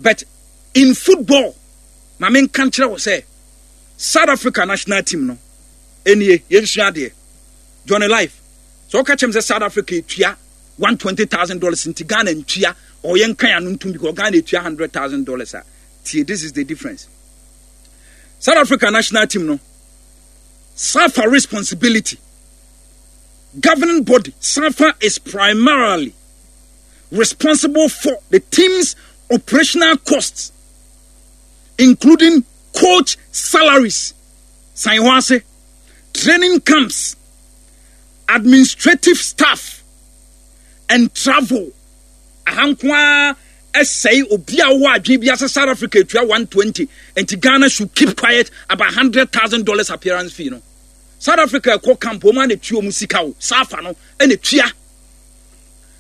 But in football, ma menka nkyerɛ wo sɛ South Africa national team no nie, yɛnsua adeɛ. Johnny Life, sɛ woka kyerɛ me sɛ South Africa etua $120,000 nti Ghana ntua or yɛnka ano ntom because Ghana etua $100,000 a, tie, this is the difference. South Africa national team no, SAFA responsibility, governing body, SAFA is primarily responsible for the team's operational costs, including coach salaries, san hɔ ase, training camps, administrative staff, and travel. Aha nko ara ɛsɛe obi a ɔwɔ adwene bi ase South Africa etua 120 nti Ghana should keep quiet about $100,000 appearance fee no. South Africa ɛkɔ camp wɔn a na etua wɔn sika o, SAFA no ɛna etua.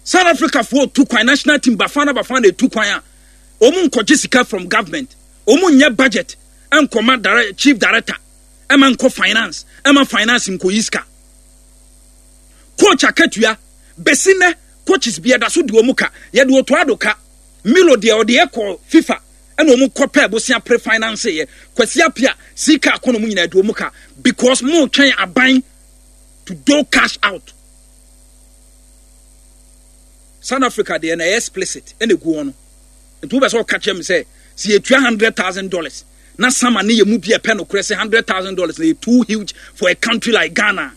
South Africa foɔ tu kwan national team Bafana Bafana etu kwan a wɔn nkɔgye sika from government, wɔn nyɛ budget nkɔma dire, chief director ɛma nkɔ finance, ɛma finance nkɔyi sika. Coach akatua besi nɛ coaches bi ɛda so di wɔn ka, yɛde Otto Addo ka, Milo deɛ ɔde ɛkɔ FIFA ɛna wɔn kɔ pɛ bosia pre finance yɛ, Kwasi Appiah sika akɔ na wɔn nyinaa di wɔn ka because mo twɛn aban to do cash out. South Africa deɛ na ɛyɛ explicit ɛna egu hɔ no, nti wobɛ sɛ ɔka kyerɛ me sɛ sɛ yɛtua $100,000 na sama ne yɛ mu bi ɛpɛ no korɛ sɛ $100,000 na yɛ too huge for a country like Ghana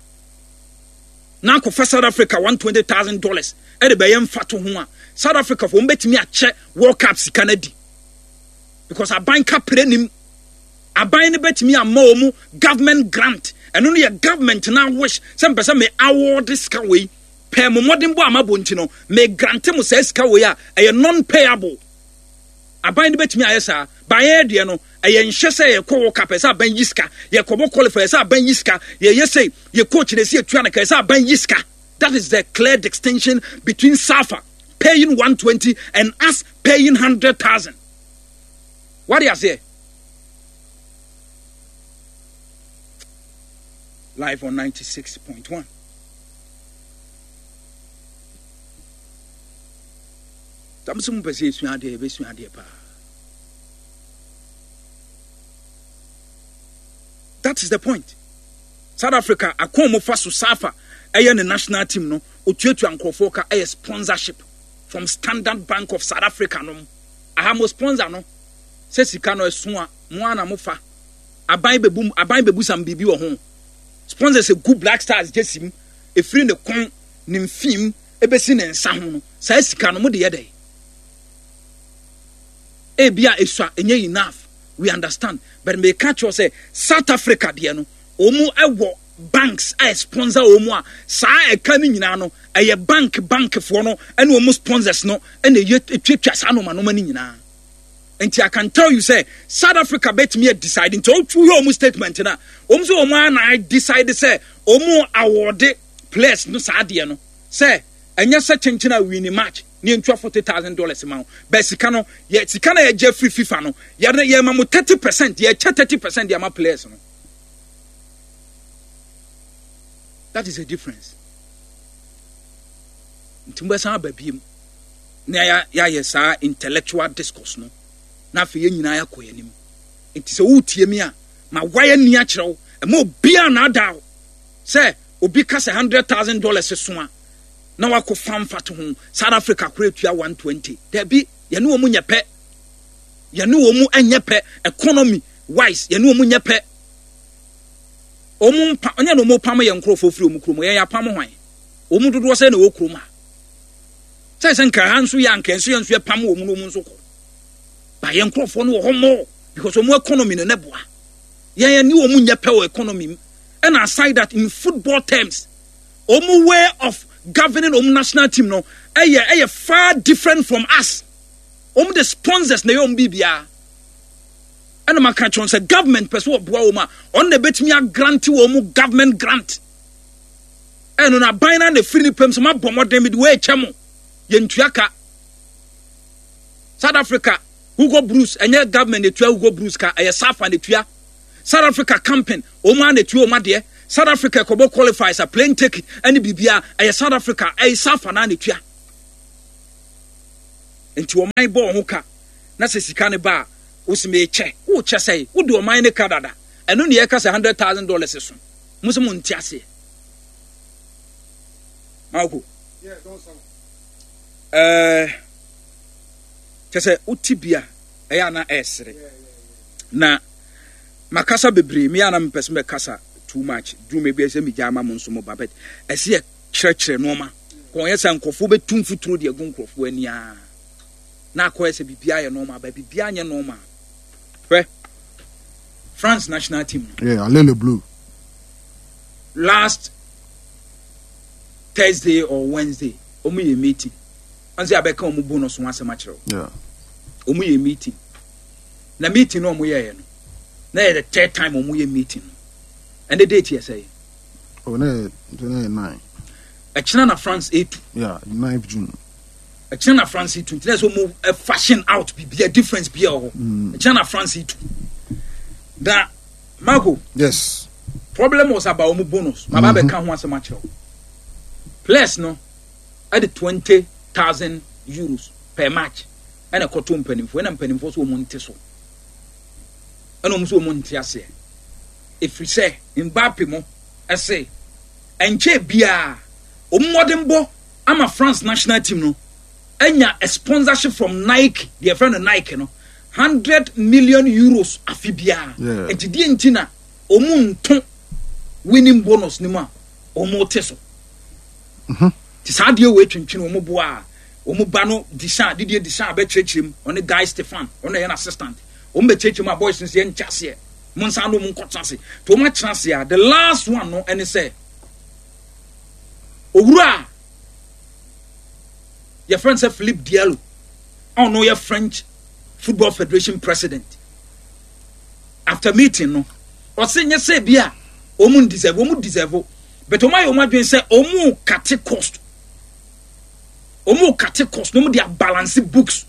na akɔfa South Africa $120,000 ɛde bɛyɛ mfato ho a, South Africa fo wɔn bɛtumi akyɛ World Cup sika no adi because aban kapere nim aban no bɛtumi ama wɔn government grant. Ɛno no yɛ government na wish sɛ mpɛ sɛ me award sika wei pɛɛ mo mmɔden bɔ ama bɔ nti no me grant mo saa sika wei a ɛyɛ non payable. Aban no bɛtumi ayɛ saa. Baayɛ deɛ no ɛyɛ nhyɛ sɛ yɛkɔ World Cup ɛsɛ aban yi sika, yɛkɔbɔ qualify ɛsɛ aban yi sika, yɛyɛ sɛ yɛ coach na ɛsɛ yɛtua no ka ɛsɛ aban yi sika. That is the clear distinction between SAFA paying 120 and us paying 100,000. What do you say? Live on 96.1. Tam sɛ mopɛ sɛ yɛsua adeɛ, yɛbɛsua adeɛ paa. That is the point. South Africa akɔn mo fa so SAFA ɛyɛ ne national team no otuatua nkurɔfoɔ ka ɛyɛ sponsorship from Standard Bank of South Africa nom. Aha mo sponsor no sɛ sika no ɛso a mo ara na mo fa. Aban bɛbu aban bɛbu sam biribi wɔ ho. Sponsors egu Black Stars gyesi mu efiri ne kɔn ne mfim ebesi ne nsa ho no saa sika no mo de yɛ dɛ. Ebia esua ɛnyɛ enough, we understand, but meka kyerɛ sɛ South Africa deɛ no wɔn wɔ banks a sponsor wɔn a saa ɛka no nyinaa no ɛyɛ bank bankfoɔ no ɛne wɔn sponsors no ɛna ɛyɛ etuatua saa nneɛma nneɛma no nyinaa. Nti I can tell you sɛ South Africa bɛtumi a decide nti wohwɛ wɔn statement no a wɔn sɛ wɔn ara na decide sɛ wɔn awɔde players no saa adeɛ no sɛ ɛnyɛ sɛ kyenkyen a win match ne yɛntua $40,000 ma wo bɛ sika no yɛ sika na yɛgye afiri FIFA no yɛ yɛma mo 30% yɛkyɛ 30% de ama players no. That is the difference. Nti mobɛsan aba biem na yɛayɛ saa intellectual discourse no na afei yɛn nyinaa yɛakɔ yɛn anim. Nti sɛ woretie me a, ma wayɛ ni akyerɛ wo, ɛma obiara naadaa wo sɛ obi ka sɛ $100,000 so a na wakɔ fa mfato ho South Africa kora etua 120. Dabi, yɛne wɔn nyɛ pɛ, yɛne wɔn nyɛ pɛ economy wise, yɛne wɔn nyɛ pɛ. Wɔn mpa ɔnyɛ na wɔn pam yɛn nkurɔfoɔ firi wɔn kurom, yɛn yɛapam hwan? Wɔn dodoɔ sɛ na ɛwɔ kurom ha. Sɛ sɛ nka ha nso yɛ anka nso yɛn nso yɛpam wɔn na wɔn nso kɔ. Ba yɛn nkurɔfoɔ no wɔ hɔ more because wɔn economy no ne boa. Yɛn yɛn ne wɔn nyɛ pɛ wɔ economy mu. Ɛna aside that in football terms, wɔn way of governing wɔn national team no ɛyɛ ɛyɛ far different from us. Wɔn de sponsors na ɛyɛ wɔn biribiara. Ɛna maka kyerɛ sɛ government pɛ so ɔboa wɔn a ɔno na ebetumi agrante wɔn government grant. Ɛno na aban na na efiri ne pɛm sɛ mabɔ mmɔden mede wei kyɛ mo yɛntua ka. South Africa Hugo Broos ɛnyɛ government na etua Hugo Broos ka, ɛyɛ SAFA na etua. South Africa camping wɔn ara na etua wɔn adeɛ. South Africa ɛkɔbɔ qualifiers a plane ticket ɛne biribiara ɛyɛ South Africa ɛyɛ SAFA na na etua. Nti wɔn bɔ wɔn ho ka. Na sɛ sika no ba a, wo se mekyɛ. Wokyɛ sɛe? Wode ɔman no ka dada. Ɛno ne yɛka sɛ $100,000 so. Mo se mo nte aseɛ. Marco. Ɛɛ kyɛ sɛ wote bi a ɛyɛ ana ɛresere. Na makasa bebree me ana mepɛ sɛ mɛkasa too much. Duru me bi sɛ megya ama mo nso mo ba but ɛsɛ yɛ kyerɛkyerɛ nneɛma. Kɔn yɛ sɛ nkurɔfoɔ bɛtu mfuturo de agu nkurɔfoɔ ani ara. Na akɔyɛ sɛ biribiara yɛ normal but biribiara nyɛ normal. Hwɛ France national team no. Yeah, Allez les Bleus. Last Thursday or Wednesday, wɔn yɛ meeting. Wɔn sɛ abɛka wɔn bonus ho asɛm akyerɛ wo. Wɔn yɛ meeting. Na meeting no wɔn yɛɛ no, na yɛ the third time wɔn yɛ meeting no. Ɛnɛ date yɛ sɛ. Oh, na yɛ 9. Ɛkyina na France etu. Yeah, 9th June. Ɛkyina na France tu nti na ɛsɛ wɔn fashion out bibia difference bia wɔ hɔ. Mm. Ɛkyina na France tu. Na Marco. Yes. Problem was about wɔn bonus. Ma ba bɛ ka ho asɛm akyerɛw. Players no ɛde €20,000 per match ɛna ɛkɔto mpanimfoɔ ɛna mpanimfoɔ so wɔn nte so ɛna wɔn nso wɔn nte aseɛ efiri sɛ Mbappe mo ɛse ɛnkyɛn biara wɔn mmɔdenbɔ ama France national team no anya a sponsorship from Nike, deɛ yɛfrɛ no Nike no, €100 million afe biara. Nti deɛ nti na wɔn nto winning bonus no mu a wɔn te so. Nti saa adeɛ wei twentwene wɔn boa a wɔn ba no Deschamps, Didier Deschamps bɛkyerɛkyerɛ mu, ɔne Guy Stefan, ɔno yɛ n'assistant. Wɔn bɛkyerɛkyerɛ mu a boys no sɛ yɛnkyɛ aseɛ, mo nsa ano wɔn nkɔtena ase. Nti wɔn atena ase a, the last one no ɛne sɛ owura a yɛfrɛ no sɛ Philippe Diallo a ɔno yɛ French Football Federation president. After meeting no, ɔse nyɛ sɛ bi a wɔn deserve, wɔn deserve, but wɔn ayɛ wɔn adwene sɛ wɔn kate cost, wɔn kate cost na wɔn de abalance books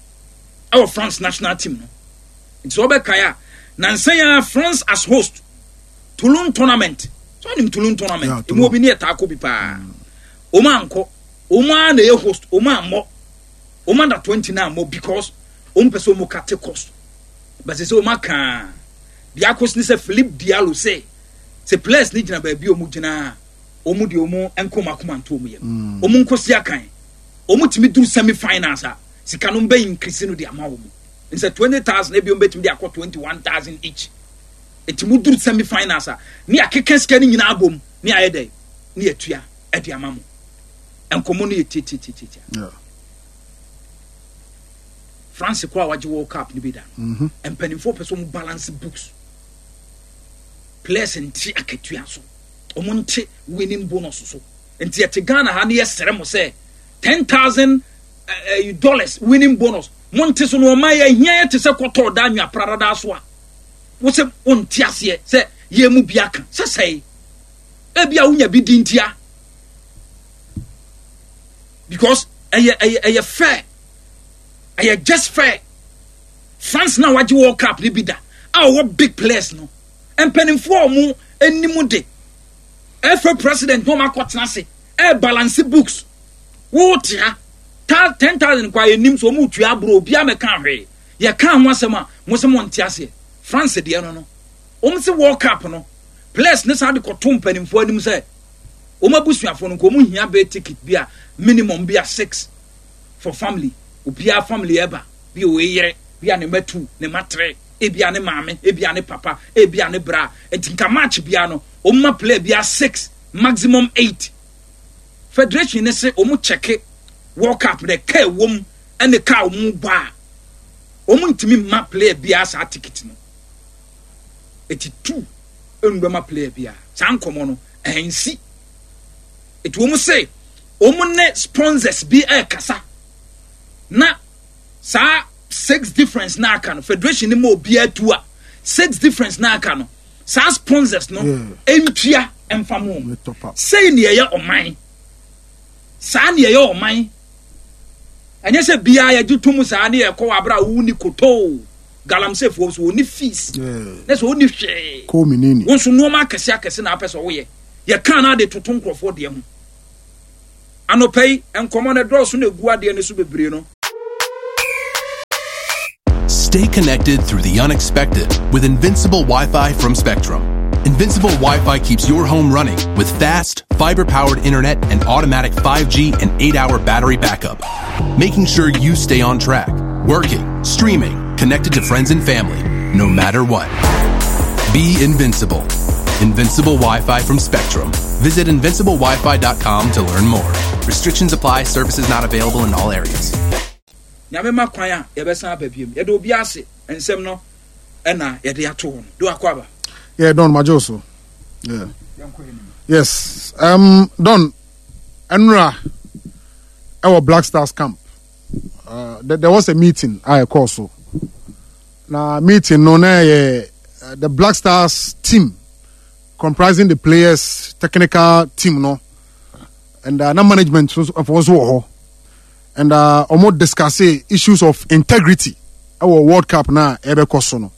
ɛwɔ France national team no. Nti sɛ wɔbɛkae a, nansa yi ara France as host Toulon tournament, so ɔnim Toulon tournament, emu obi ne yɛ taa kɔ bi paa. Wɔn ankɔ, wɔn ara na ɛyɛ host, wɔn ammɔ, wɔn under 20 na ammɔ because wɔn pɛ sɛ wɔn kate cost. But sɛ wɔn aka deɛ akɔ ne sɛ Philippe Diallo sɛ sɛ players ne gyina baabi a wɔn gyina a wɔn deɛ wɔn nko wɔn akoma nto wɔn yam. Wɔn nko si akan. Wɔn tumi duru semi finals a sika no bɛ increase no de ama wɔn. Nsɛ 20,000 ebi wɔn bɛtumi de akɔ 21,000 each. Eti mo duru semi finals a ne yɛakeka sika no nyinaa abom ne ayɛ dɛ ne yɛatua de ama mo. Nkɔmmɔ no yɛ tiatiatiatia. Yeah. France kɔ a wagye World Cup no bi da no. Mpanimfoɔ pɛ sɛ wɔn balance books. Players nte akatua so. Wɔn nte winning bonus so. Nti yɛte Ghana ha ne yɛsrɛ mo sɛ 10,000 dollars winning bonus. Mo nte so no ɔman yɛ hia yɛ te sɛ kɔtɔɔ da anwea pradada so a. Wo sɛ wonte aseɛ sɛ yɛn mu bi aka sɛ sɛe. Ebi a wonya bi di ntia. Because ɛyɛ ɛyɛ ɛyɛ fair. Ɛyɛ just fair. France na wagye World Cup ne bi da a ɔwɔ big players no. Mpanimfoɔ a wɔn anim de FA president na wɔn akɔtena ase ɛyɛ balance books. Wote ha 10,000 kwa yɛnim so wɔn tua aburo obiara mɛka hwee. Yɛka ho asɛm a mo sɛ mo nte aseɛ. France deɛ no no wɔn se World Cup no players ne saa de kɔto mpanimfoɔ anim sɛ wɔn abusuafoɔ no nka wɔn hia bɛyɛ ticket bi a minimum bi a 6 for family. Obiara family ɛba bi a ɔyɛ yere bi a ne mma 2 ne mma 3 ebi a ne maame ebi a ne papa ebi a ne bra. Nti nka match biara no wɔn ma player bi a 6 maximum 8. Federation ne se wɔn check World Cup na ɛka ɛwɔ mu ɛne ka wɔn bɔ a wɔn ntumi mma player biara saa ticket no. Eti 2 ɛnu bɛma player biara saa nkɔmɔ no ɛnsi. Eti wɔn se wɔn ne sponsors bi ɛrekasa na saa 6 difference na aka no federation ne ma obiara tu a 6 difference na aka no saa sponsors no ntua mfa mo. Wɔn top up. Sei ne ɛyɛ ɔman. Saa ne ɛyɛ ɔman. Ɛnyɛ sɛ biara yɛgye tom saa ne yɛkɔ wɔ abere a wo ni kotoo galamseyfoɔ so wɔni fees. Na sɛ wɔni hwee. Kɔɔ mi nini. Wɔn nso nneɛma akɛse akɛse na apɛ sɛ wɔyɛ. Yɛka na ade toto nkurɔfoɔ deɛ ho. Anɔpa yi nkɔmɔ no dɔɔso na egu adeɛ no so bebree no. Stay connected through the unexpected with Invincible Wi Fi from Spectrum. Invincible Wi Fi keeps your home running with fast, fiber powered internet and automatic 5G and 8 hour battery backup, making sure you stay on track, working, streaming, connected to friends and family, no matter what. Be invincible. Invincible Wi Fi from Spectrum. Visit invinciblewifi.com to learn more. Restrictions apply, services not available in all areas. Nyame ma kwan a yɛbɛsan aba biom. Yɛda obi ase nsɛm no ɛna yɛde ato hɔ no. Do akɔ aba. Yeah, Don Majo so. Yeah. Yes. Don Enra ɛwɔ Black Stars camp. There was a meeting a ɛkɔɔ so. Na meeting no na ɛyɛ the Black Stars team comprising the players technical team no and na management nso wɔ hɔ. And wɔn discuss issues of integrity ɛwɔ World Cup na ɛbɛkɔ so no.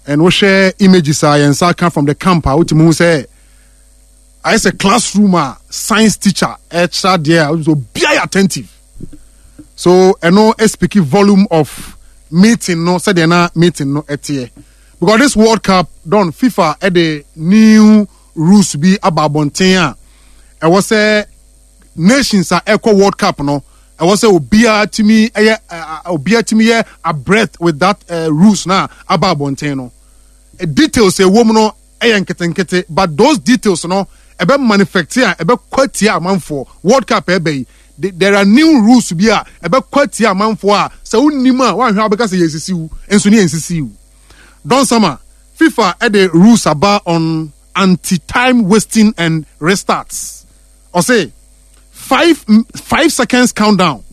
And wohwɛ images a yɛn nsa ka from the camp a wotumi hu sɛ ayɛ sɛ classroom a science teacher ɛkyerɛ adeɛ a wotumi sɛ obiara yɛ attentive. So ɛno speak volume of meeting no sɛdeɛ na meeting no ɛteɛ. Because this World Cup don FIFA ɛde new rules bi aba abɔnten a ɛwɔ sɛ nations a ɛkɔ World Cup no ɛwɔ sɛ obiara tumi ɛyɛ obiara tumi yɛ abreast with that rules na aba abɔnten no. Details ɛwɔ mu no ɛyɛ nketenkete, but those details no ɛbɛ manifest a ɛbɛ kɔ atia amanfoɔ. World Cup ɛbɛ yi, there are new rules bi a ɛbɛ kɔ atia amanfoɔ a sɛ wonim a woanhwɛ a wobɛka sɛ yɛnsisi wo, nso ne yɛnsisi wo. Don Sama, FIFA ɛde rules aba on anti-time wasting and restarts. Ɔse 5 seconds countdown.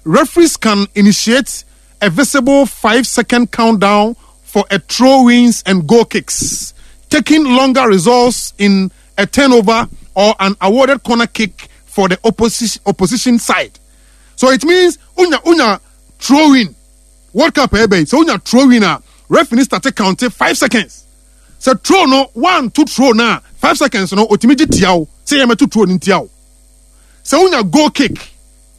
Referees can initiate a visible 5-second countdown for a throw-ins and goal kicks. Taking longer results in a turnover or an awarded corner kick for the opposition side. So it means unya throw-in. World Cup ebe so unya throw-in a referee start counting 5 seconds. Sɛ throw no 1 2 throw na 5 seconds no otimi gye tia wo sɛ yɛ mɛto throw no ntia wo. Sɛ wonya goal kick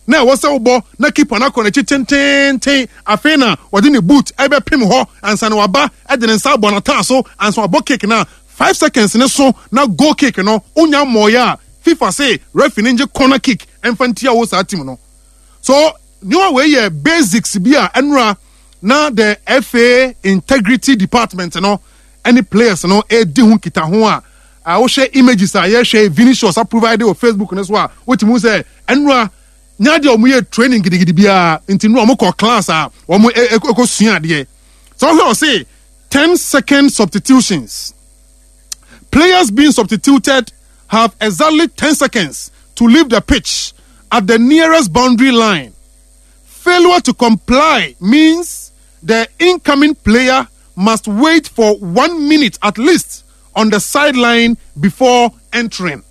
na ɛwɔ sɛ wobɔ na keeper no akɔ n'akyi tententen afei na wɔde ne boot ɛbɛpem hɔ ansa na waba ɛde ne nsa abɔ n'ataa so ansa wabɔ kick na 5 seconds ne so na goal kick no wonya mmɔɔyɛ a FIFA se referee no ngye corner kick ɛmfa ntia wo saa team no. So nneɛma wei yɛ basics bi a ɛnora na the FA integrity department no ɛne players no edi ho nkitaho a wohwɛ images a yɛhwɛ Vinicius a provide wɔ Facebook no so a wotumi hu sɛ ɛnora nya deɛ wɔn yɛ training gidigidi biara nti nora wɔn kɔ class a wɔn ɛkɔ sua adeɛ. So wohwɛ ɔse 10-second substitutions. Players being substituted have exactly 10 seconds to leave the pitch at the nearest boundary line. Failure to comply means the incoming player must wait for 1 minute at least on the sideline before entering.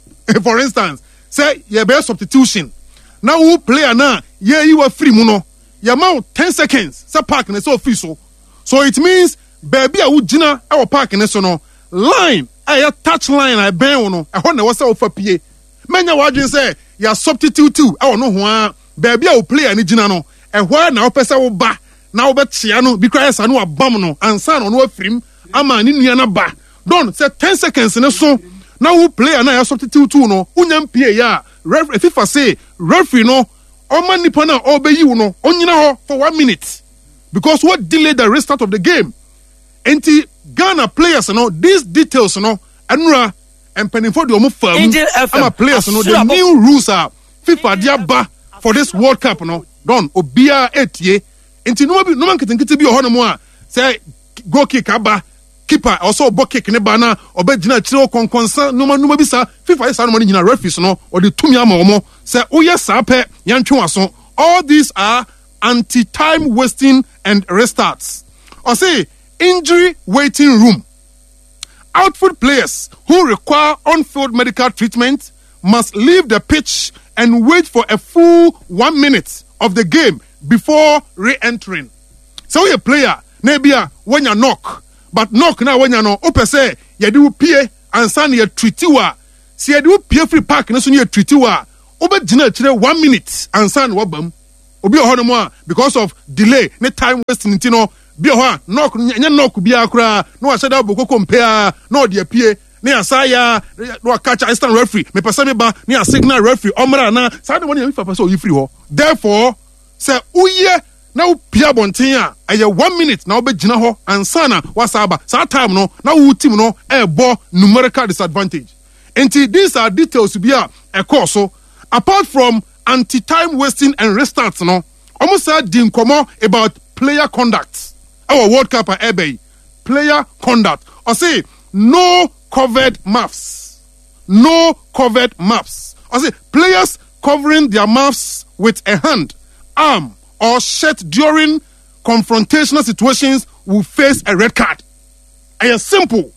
For instance, say you be substitution. Now who player na ye you are free mu no. You ma 10 seconds say park ne so free so. So it means baby a wo gina e wo park ne so no line e touch line a ben wo no e ho na wo say wo fa pie. Menya wadwen say ya substitute e wo no ho a baby a wo player ne gina no e ho na wo pese wo ba na wo betia no bi kra yesa no abam no ansa na no afirim ama ne nua na ba. Don say 10 seconds ne so na wo player na ya substitute no unya mpie ya referee FIFA say referee no o ma nipa na o be yiwu no onyina ho for 1 minute because what delay the restart of the game. Enti Ghana players no these details no enura empanimfo de omo fa mu ama players no the new rules are FIFA de aba for this World Cup no don obia etie. Enti no bi no nketenkete bi oho no mo a say goal kick aba keeper also bɔ kick ne ba na obegyina kyerɛ okonkonsa noma noma bi sa FIFA yɛ sa noma no nyina referees no ɔde tumi ama omo sɛ woyɛ saa pɛ yɛntwe waso. All these are anti-time wasting and restarts. Or say injury waiting room. Outfield players who require on-field medical treatment must leave the pitch and wait for a full 1 minute of the game before re-entering. So a player maybe a when you knock, but knock now when you know open say you do pay and sign your treaty wa. See you do pay free park no so you treaty wa. Obe jina chire 1 minute and sign wabam. Obi oho no mo because of delay ne time wasting nti no. Bi wɔ hɔ a knock no ɛnyɛ knock biara koraa na wahyɛ da abɔ koko mpɛ ara na ɔde apue na yɛasa ayɛ a na waka kyerɛ assistant referee mepɛ sɛ meba na yɛ signal referee ɔmmra anaa saa nneɛma no yɛ FIFA pɛ sɛ ɔyi firi hɔ. Therefore sɛ woyɛ na wopue abɔnten a ɛyɛ one minute na wobɛgyina hɔ ansa na woasa aba. Saa time no na wo team no ɛrebɔ numerical disadvantage. Nti these are details bi a ɛkɔɔ so apart from anti time wasting and restart no. Wɔn san di nkɔmɔ about player conduct ɛwɔ World Cup a ɛreba yi. Player conduct. Ɔse no covered mouths. No covered mouths. Ɔse players covering their mouths with a hand, arm or shirt during confrontational situations will face a red card. Ɛyɛ simple.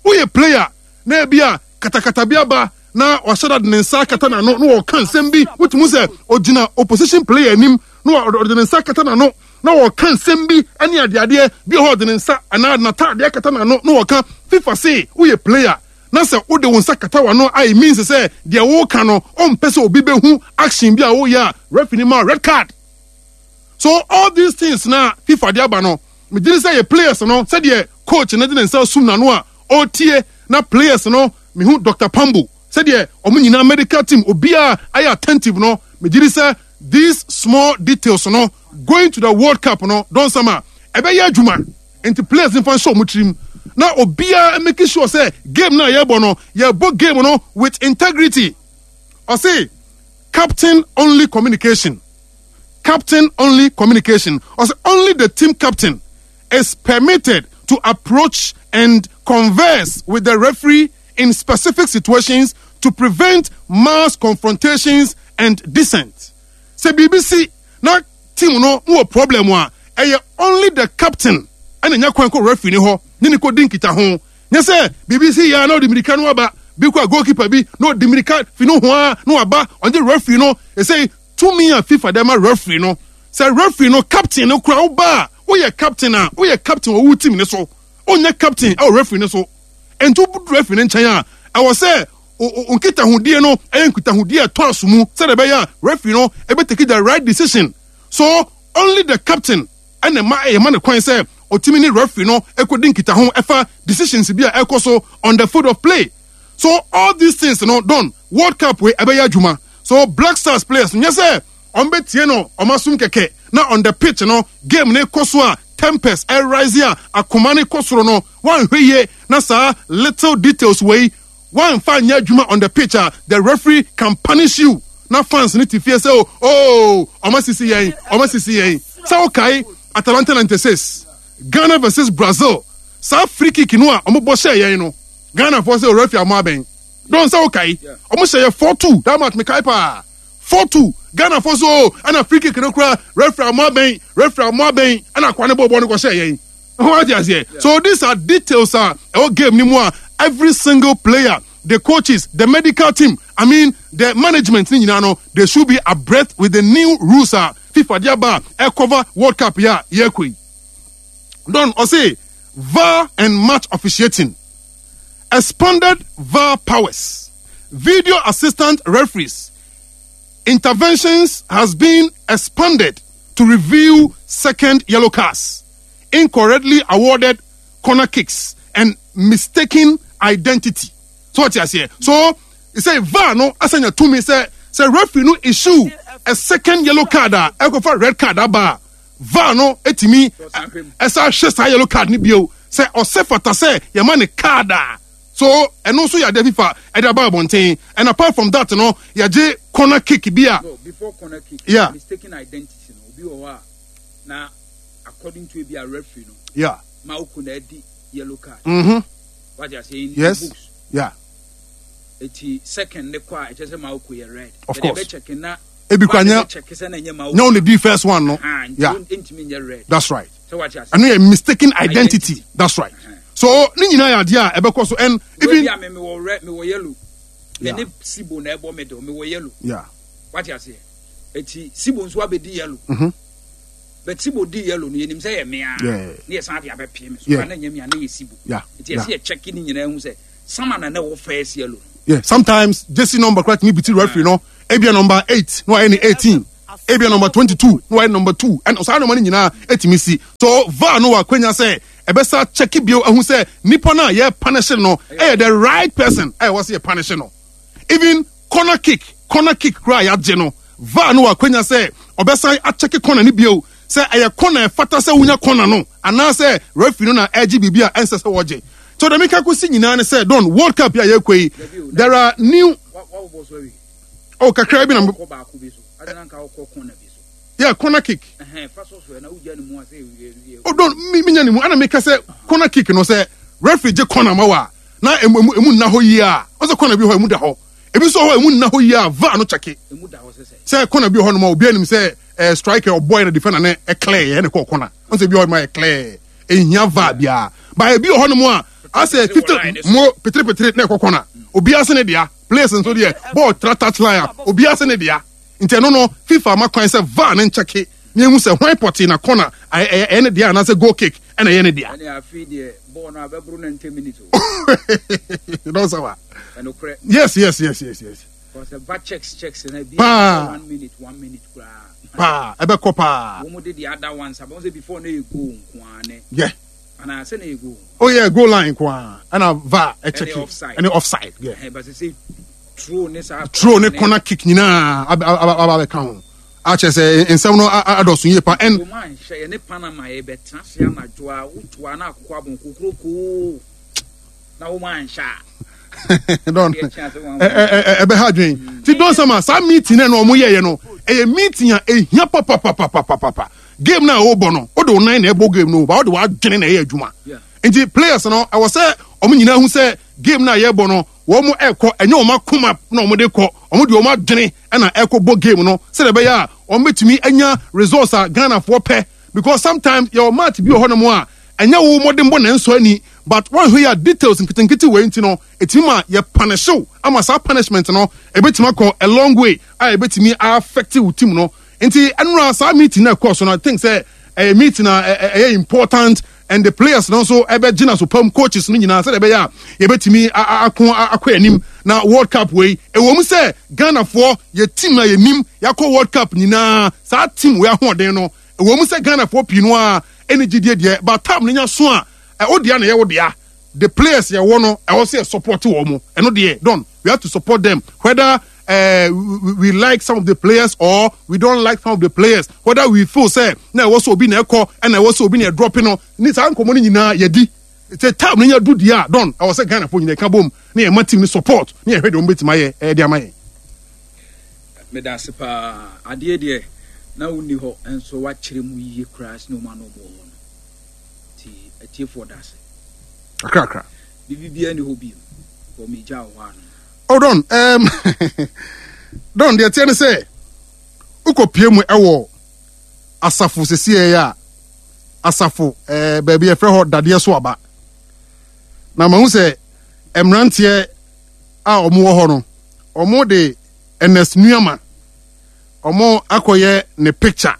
Woyɛ player na ebi a katakata bi aba na wahyɛ da de ne nsa akata n'ano na ɔreka nsɛm bi. Wotumi hu sɛ ogyina opposition player anim na ɔde ne nsa akata n'ano na ɔreka nsɛm bi ne adeadeɛ bi wɔ hɔ ɔde ne nsa anaa n'ataadeɛ akata n'ano na ɔreka. FIFA se woyɛ player na sɛ wode wo nsa kata w'ano a it means sɛ deɛ woreka no ɔmpɛ sɛ obi bɛhu action bi a woyɛ a referee no ma red card. So all these things na FIFA de aba no, megye di sɛ yɛ players no sɛdeɛ coach no de ne nsa sum n'ano a ɔretie na players no mehu Doctor Pambo sɛdeɛ wɔn nyinaa medical team obiara ayɛ attentive no, megye di sɛ these small details no going to the World Cup no dɔnsam a ɛbɛyɛ adwuma nti players nfa nhyɛ wɔn tirim na obiara make sure sɛ game no a yɛrebɔ no yɛrebɔ game no with integrity. Ɔse captain only communication. Captain only communication. Ɔse only the team captain is permitted to approach and converse with the referee in specific situations to prevent mass confrontations and dissent. Sɛ biribi si na team no wɔ problem a, ɛyɛ only the captain ɛna nya kwan kɔ referee no hɔ ne ne kɔdi nkitaho. Nyɛ sɛ biribi si yɛ a na ɔde mirika no aba, bi kɔ a goalkeeper bi na ɔde mirika fi no ho a na waba ɔnye referee no. Ɛsɛ tumi a FIFA de ama referee no sɛ referee no captain no kora woba a woyɛ captain a woyɛ captain wɔ wo team no so wonyɛ captain ɛwɔ referee no so nti wodu referee no nkyɛn a ɛwɔ sɛ nkitahodie no ɛyɛ nkitahodie a ɛtɔ aso mu sɛdeɛ ɛbɛyɛ a referee no ɛbɛtake the right decision so only the captain ɛna ɛma ɛyɛ ma no kwan sɛ ɔtumi ne referee no ɛkɔdi nkitaho ɛfa decisions bi a ɛkɔ so on the field of play so all these things no don World Cup wei ɛbɛyɛ adwuma so Black Stars players nyɛ sɛ wɔn bɛtie no wɔn asom kɛkɛ na on the pitch no game no kɔ so a tempers ɛrise a akoma no kɔ soro no wɔanhwɛ yie na saa little details wei wɔamfa nyɛ adwuma on the pitch a the referee can punish you na fans no te fie sɛ o oh wɔn asisi yɛn wɔn asisi yɛn sɛ wokae Atalanta 96 Ghana versus Brazil saa free kick no a wɔn bɔ hyɛɛ yɛn no Ghana foɔ sɛ referee amoa abɛn Don sɛ wokae ɔmo hyɛ yɛ 4-2 that match mekae paa 4-2 Ghana fo so o ɛna free kick no koraa referee amoa bɛn referee amoa bɛn ɛna akoa no bɔɔ bɔɔl no kɔhyɛ yɛn ho ate aseɛ so these are details a ɛwɔ game no mu a every single player the coaches the medical team I mean the management ne nyinaa no they should be abreast with the new rules a FIFA de aba a ɛcover World Cup yi a yɛrekɔ yi Don ɔse VAR and match officiating expanded VAR powers, video assistant referees interventions has been expanded to review second yellow cards, incorrectly awarded corner kicks, and mistaken identity. So what you say? So you say VAR no asanya to me say say referee no issue a second yellow card a ɛkɔfa red card aba VAR no etimi ɛsa hwɛ saa yellow card no bio sɛ ɔsɛ fata sɛ yɛma ne card a so ɛno nso yɛ adeɛ FIFA ɛde aba abɔnten and apart from that no yɛgye corner kick bi a. No, before corner kick. Yeah. Mistaken identity no obi wɔ hɔ a na according to ebi a referee no. Yeah. Ma oko na ɛdi yellow card. Mm-hmm. Wate ase in yes. the books. Yeah. Eti second ne kɔ a ɛkyɛ sɛ ma oko yɛ red. Of course. Ɛde bɛ check na. Ebi kura nyɛ nyɛ only di first one no. Yeah. Ntumi nyɛ red. That's right. Ɛno yɛ mistaken identity. That's right. So ne nyinaa yɛ adeɛ a ɛbɛkɔ so and even. Ebi a mi wɔ red mi wɔ yellow. Yeah. Ne sibo na ɛbɔ middle mi wɔ yellow. Yeah. Wate aseɛ. Eti sibo nso abɛdi yellow. Mm -hmm. But sibo di yellow no yɛnim sɛ yɛ mea. Yeah. Ne yɛ san de abɛpie me so. Yeah. Na nyɛ mea ne yɛ sibo. Yeah. Eti yɛsi yɛ check ne nyinaa hu sɛ sama na na ɛwɔ first yellow. Yeah. Sometimes jersey number kura tumi biti referee no ebia number 8 no ayɛ ne 18. Ebia number 22 na wayɛ number 2, ɛna saa nneɛma no nyinaa ɛtumi si. So VAR no wɔ akwanya sɛ ɛbɛsa kyɛke bio ahu sɛ nipa no a yɛ punish no ɛyɛ the right person a ɛwɔ sɛ yɛ punish no. Even corner kick, corner kick koraa a yɛagye no, VAR no wɔ akwanya sɛ ɔbɛsan akyɛke corner no bio sɛ ɛyɛ corner a ɛfata sɛ wonya corner no anaasɛ referee no na ɛregye biribi a ɛnsɛ sɛ wɔgye. So deɛ meka kɔsi nyinaa ne sɛ, Don, World Cup yi a yɛrekɔ yi, there are new. Oh, kakra bi na. Yeah, corner kick. Oh, don mi mi nya ne mu. Ana meka sɛ corner kick no sɛ referee gye corner ma wa na emu emu emu nna hɔ yie a, ɔsɛ corner bi hɔ emu da hɔ. Ebi nso hɔ emu nna hɔ yie a VAR no kyɛke. Sɛ corner bi hɔ nom a obi anim sɛ eh, striker ɔbɔɛ na defender no ɛclear yɛ ɛna kɔɔ corner. Ɔsɛ bi hɔ nom a ɛclear. Ehia VAR biara. Ba ebi wɔ hɔ nom a asɛ 50 mo petere petere na ɛkɔ corner. Obi ase ne dea. Players nso deɛ bɔɔl tra touch line a obi ase ne dea. Nti ɛno no FIFA ama kwan sɛ VAR no nkyɛke na ehu sɛ hwan pɔtee na corner ɛyɛ ne dea anaasɛ goal kick ɛna ɛyɛ ne dea. Ɛne afei deɛ bɔɔl no abɛboro 90 minutes o. Don Sawa. Ɛnokorɛ. Yes, yes, yes, yes, yes. Because ɛba checks checks na ebi Paa. 1 minute 1 minute koraa. Paa, ɛbɛkɔ paa. Wɔn de the other ones abɔn sɛ before na yɛ goal nko ara ne. Ana sɛ na yɛ goal. Oh yeah, goal line nko ara. Ɛna VAR ɛkyɛke. Ɛne offside. Ɛne offside. Yeah. Ɛhɛn but sɛ throw ne saa. Throw ne corner kick nyinaa aba aba aba abɛka ho. Akyɛ sɛ nsɛm no adɔso yie pa. And Wɔn anhyɛ yɛ ne Panama yɛ bɛtena ase anadwo a wotu a na akokɔ abɔn kokurokoo na wɔn anhyɛ a. Don ɛbɛha adwene. Ti Don Sama saa meeting na wɔn yɛyɛ no ɛyɛ meeting a ehia papapapapapa. Game na ɔrebɔ no wode wo nan na ɛbɔ game no ba wode w'adwene na ɛyɛ adwuma. Nti players no ɛwɔ sɛ wɔn nyinaa hu sɛ game na yɛrebɔ no wɔn ɛkɔ ɛnyɛ wɔn akoma na wɔn de kɔ, wɔn de wɔn adwene ɛna ɛkɔ bɔ game no sɛdeɛ ɛbɛyɛ a wɔn bɛtumi anya results a Ghanafoɔ pɛ, because sometimes yɛwɔ match bi wɔ hɔnom a ɛnyɛ wo mmɔdenbɔ na ɛnsɔ ani, but wɔnhwɛ yɛ a details nketenkete wei nti no ɛtumi ma yɛ punish wo ama saa punishment no ɛbɛtumi akɔ a long way a ɛbɛtumi affect wo team no. Nti ɛnora saa meeting na ɛkɔɔ so no, I think sɛ ɛyɛ meeting a ɛyɛ important and the players no nso ɛbɛgyina so pam, coaches no nyinaa, sɛdeɛ ɛbɛyɛ a yɛbɛtumi ako akɔ anim na World Cup wei. Ɛwɔ mu sɛ Ghanafoɔ yɛ team a yɛnim yɛakɔ World Cup nyinaa, saa team wei ahoɔden no ɛwɔ mu sɛ Ghanafoɔ pii no a ɛne gyidie deɛ, but time no nya so a ɛwo dea na ɛyɛ wo dea. The players yɛwɔ no ɛwɔ sɛ yɛ support wɔn mo, ɛno deɛ don we have to support them whether we like some of the players or we don't like some of the players, whether we feel say na ɛwɔ sɛ obi na ɛkɔ ɛna ɛwɔ sɛ obi na ɛdrɔpe no ne saa nkɔmɔ no nyinaa yɛdi sɛ time no nya du deɛ a don ɛwɔ sɛ Ghana fo nyinaa ɛka bom na yɛma team no support na yɛhwɛ deɛ wɔn bɛtumi ayɛ ɛde ama yɛn. Meda ase paa. Adeɛ deɛ na wonni hɔ nso wakyerɛ mu yie koraa sɛ ɔma no ɔmo wɔ hɔ no. Nti atiefoɔ da ase. Kakrakra. Biribi biara ni hɔ bio. Wɔ megya wɔ hɔ ano. Oh Don, Don deɛ teɛ ne sɛ wokɔpie mu ɛwɔ asafo sesieɛ a asafo baabi yɛfrɛ hɔ dadeɛ so aba, na mahu sɛ mmeranteɛ a wɔn wɔ hɔ no wɔn de Ernest Nuama wɔn akɔyɛ ne picture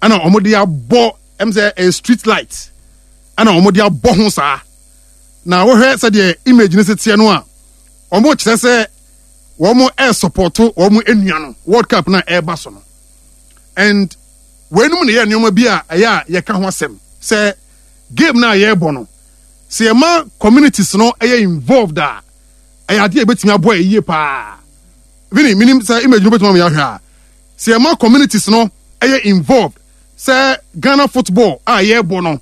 ɛna wɔn de abɔ ɛm sɛ ɛyɛ street light ɛna wɔn de abɔ ho saa. Na wohwɛ sɛdeɛ image no teɛ no a, wɔn kyerɛ sɛ wɔn ɛresupɔto wɔn nua no World Cup na ɛreba so no. And weinom na yɛ nneɛma bi a ɛyɛ a yɛka ho asɛm sɛ game no a yɛrebɔ no, sɛ yɛma communities no ɛyɛ involved a, ɛyɛ adeɛ a ɛbɛtumi aboa yɛ yie paa. Vini, minim sɛ image no bɛtumi ama yɛahwɛ a, sɛ yɛma communities no ɛyɛ involved sɛ Ghana football a yɛrebɔ no,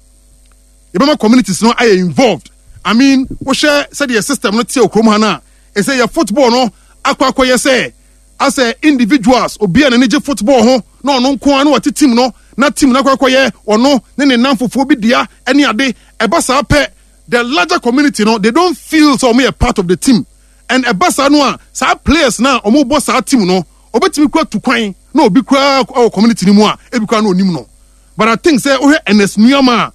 yɛbɛma communities no ayɛ involved. I mean, wohwɛ sɛdeɛ system no te wɔ kurom ha no a, ɛsɛ yɛ football no akɔ akɔyɛ sɛ asɛ individuals, obi a n'ani gye football ho na ɔno nko ara na wate team no, na team no akɔ akɔyɛ ɔno ne ne nnamfofoɔ bi dea ne ade. Ɛba saa pɛ, the larger community no, they don't feel sɛ wɔn yɛ part of the team. And ɛba saa no a, saa players no a wɔn bɔ saa team no, obetumi kura tu kwan na obi kura wɔ community no mu a ebi kura na onim no. But I think sɛ wohwɛ Ernest Nuamah a,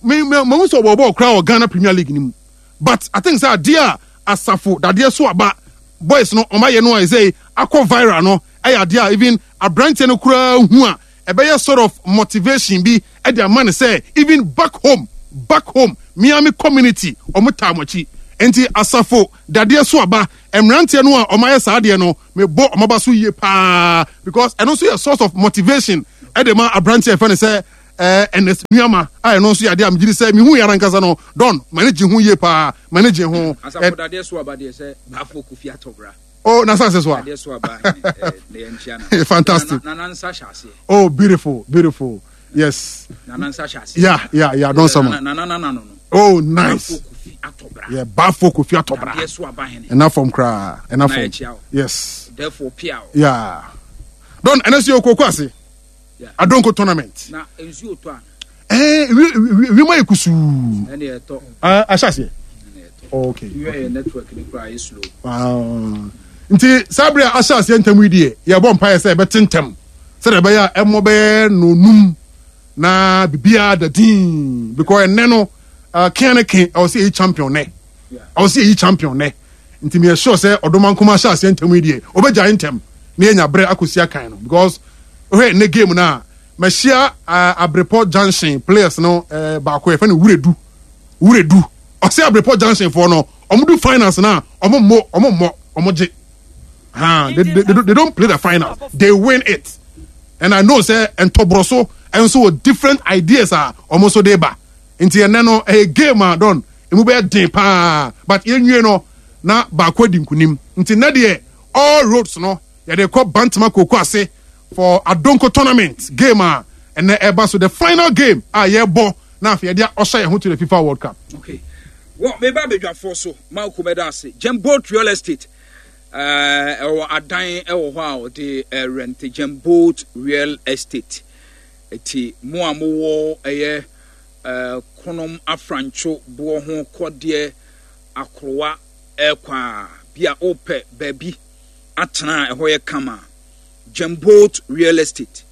me me mahu sɛ ɔbɔ bɔɔl koraa wɔ Ghana Premier League no mu. But I think sɛ adeɛ a asafo dadeɛ so aba boys no ɔmo ayɛ no a ɛsɛ akɔ viral no ɛyɛ adeɛ a even aberanteɛ no koraa hu a ɛbɛyɛ sort of motivation bi ɛde ama no sɛ even back home, back home Miami community ɔmo taa mo akyi. Nti asafo dadeɛ so aba mmeranteɛ no a wɔayɛ saa adeɛ no mebɔ wɔn aba so yie paa because ɛno nso yɛ source of motivation ɛde ma aberanteɛ a yɛfrɛ no sɛ ɛɛ Ernest Nuama a ɛno nso yɛ adeɛ a megye di sɛ mehu yɛ ara nkasa no Don m'ani gye ho yie paa m'ani gye ho. Asafo dadeɛ so aba deɛ sɛ baafo kofi atɔbra. Oh, na asase so a. Dadeɛ so aba ɛɛ na yɛn nkyia na. Fantastic. Na na nsa hyɛ aseɛ. Oh, beautiful, beautiful. Yes. Nana nsa hyɛ aseɛ. Yeah, yeah, yeah. Don sama. Nana nana no no. Oh, nice. Bafo Kofi Atɔbra. Yeah, Bafo Kofi Atɔbra. Dadeɛ so aba hene. Ɛna fam koraa. Ɛna fam. Yes. Therefore, pia. Yeah. Don, ɛna si okoko ase. Yeah. Adonko tournament. Na nsuo tɔ ana. Eh, wi ma yɛ kusuu. Ɛna ɛtɔ. Ah, ahyɛ aseɛ. Okay. Wi yɛ network ni koraa yɛ slow. Ah. Nti saa bere a ahyɛ aseɛ ntɛm yi deɛ yɛbɔ mpaeɛ sɛ ɛbɛte ntɛm sɛdeɛ ɛbɛyɛ a ɛmmɔ bɛyɛ nonum na biribiara da din because ɛnɛ no uh, kea ne ke ɛwɔ sɛ yɛyi champion nɛ ɛwɔ sɛ yɛyi champion nɛ nti meyɛ sure sɛ ɔdoma nkoma ahyɛ aseɛ ntɛm yi deɛ ɔbɛgyae ntɛm na yɛnya berɛ akɔsi akan no because wohwɛ ne game no a mahyia uh, abrepɔ junction players no uh, baako yɛfɛ no wuredu wuredu ɔsɛ abrepɔ junction foɔ no ɔmo du finals no a ɔmo mmɔ ɔmo mmɔ ɔmo gye ha they, they, they, they don't play the final they win it and i know sɛ ntɔborɔ so nso wɔ different ideas a ɔmo nso de ba nti ɛnɛ no ɛyɛ game a don emu bɛyɛ den paa but yɛnwie no na baako adi nkunim nti nɛ deɛ all roads no yɛde kɔ bantama koko ase for adonko tournament game a ɛnɛ ɛba so the final game a yɛbɔ na afei yɛde ɔhyɛ yɛn ho to the fifa world cup. okay wɔ meba abadwafoɔ so ma okomɛda ase jemboat real estate Ɛwɔ adan wɔ hɔ a wɔde rɛnte Gemboat Real Estate. Eti mo a mowɔ ɛyɛ Konom Afrantwo boɔ ho kɔdeɛ akorowa ɛrekɔ a, bi a wopɛ baabi atena a ɛhɔ yɛ kama a, Gemboat Real Estate.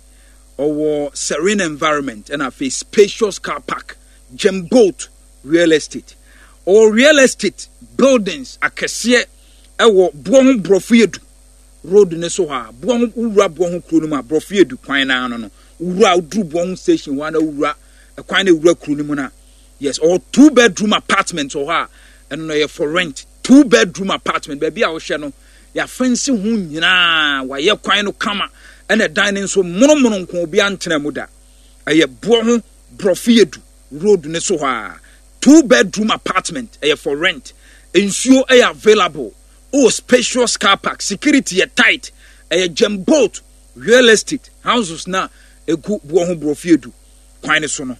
Ɔwɔ serene environment ɛna afei spacious car park. Gemboat Real Estate. Ɔwɔ real estate buildings akɛseɛ ɛwɔ boɔ ho borɔfo yɛ du road ne so hɔ a boɔ ho wowura boɔ ho kuro no mu a borɔfo yɛ du kwan no ano no wowura woduru boɔ ho station hɔ a na wowura ɛkwan na ewura kuro no mu na yes ɔwɔ two bedroom apartment wɔ hɔ a ɛno no yɛ for rent two bedroom apartment baabi a wohwɛ no yɛafɛnsi ho nyinaa wayɛ kwan no kama ɛna ɛdan no nso monomono nko obi antena mu da ɛyɛ boɔ ho borɔfo yɛ du road no so hɔ a two bedroom apartment ɛyɛ for rent nsuo ɛyɛ available wowɔ spacious car park security yɛ tight ɛyɛ gem boat real estate houses na egu boɔ ho borɔfo edu kwan no so no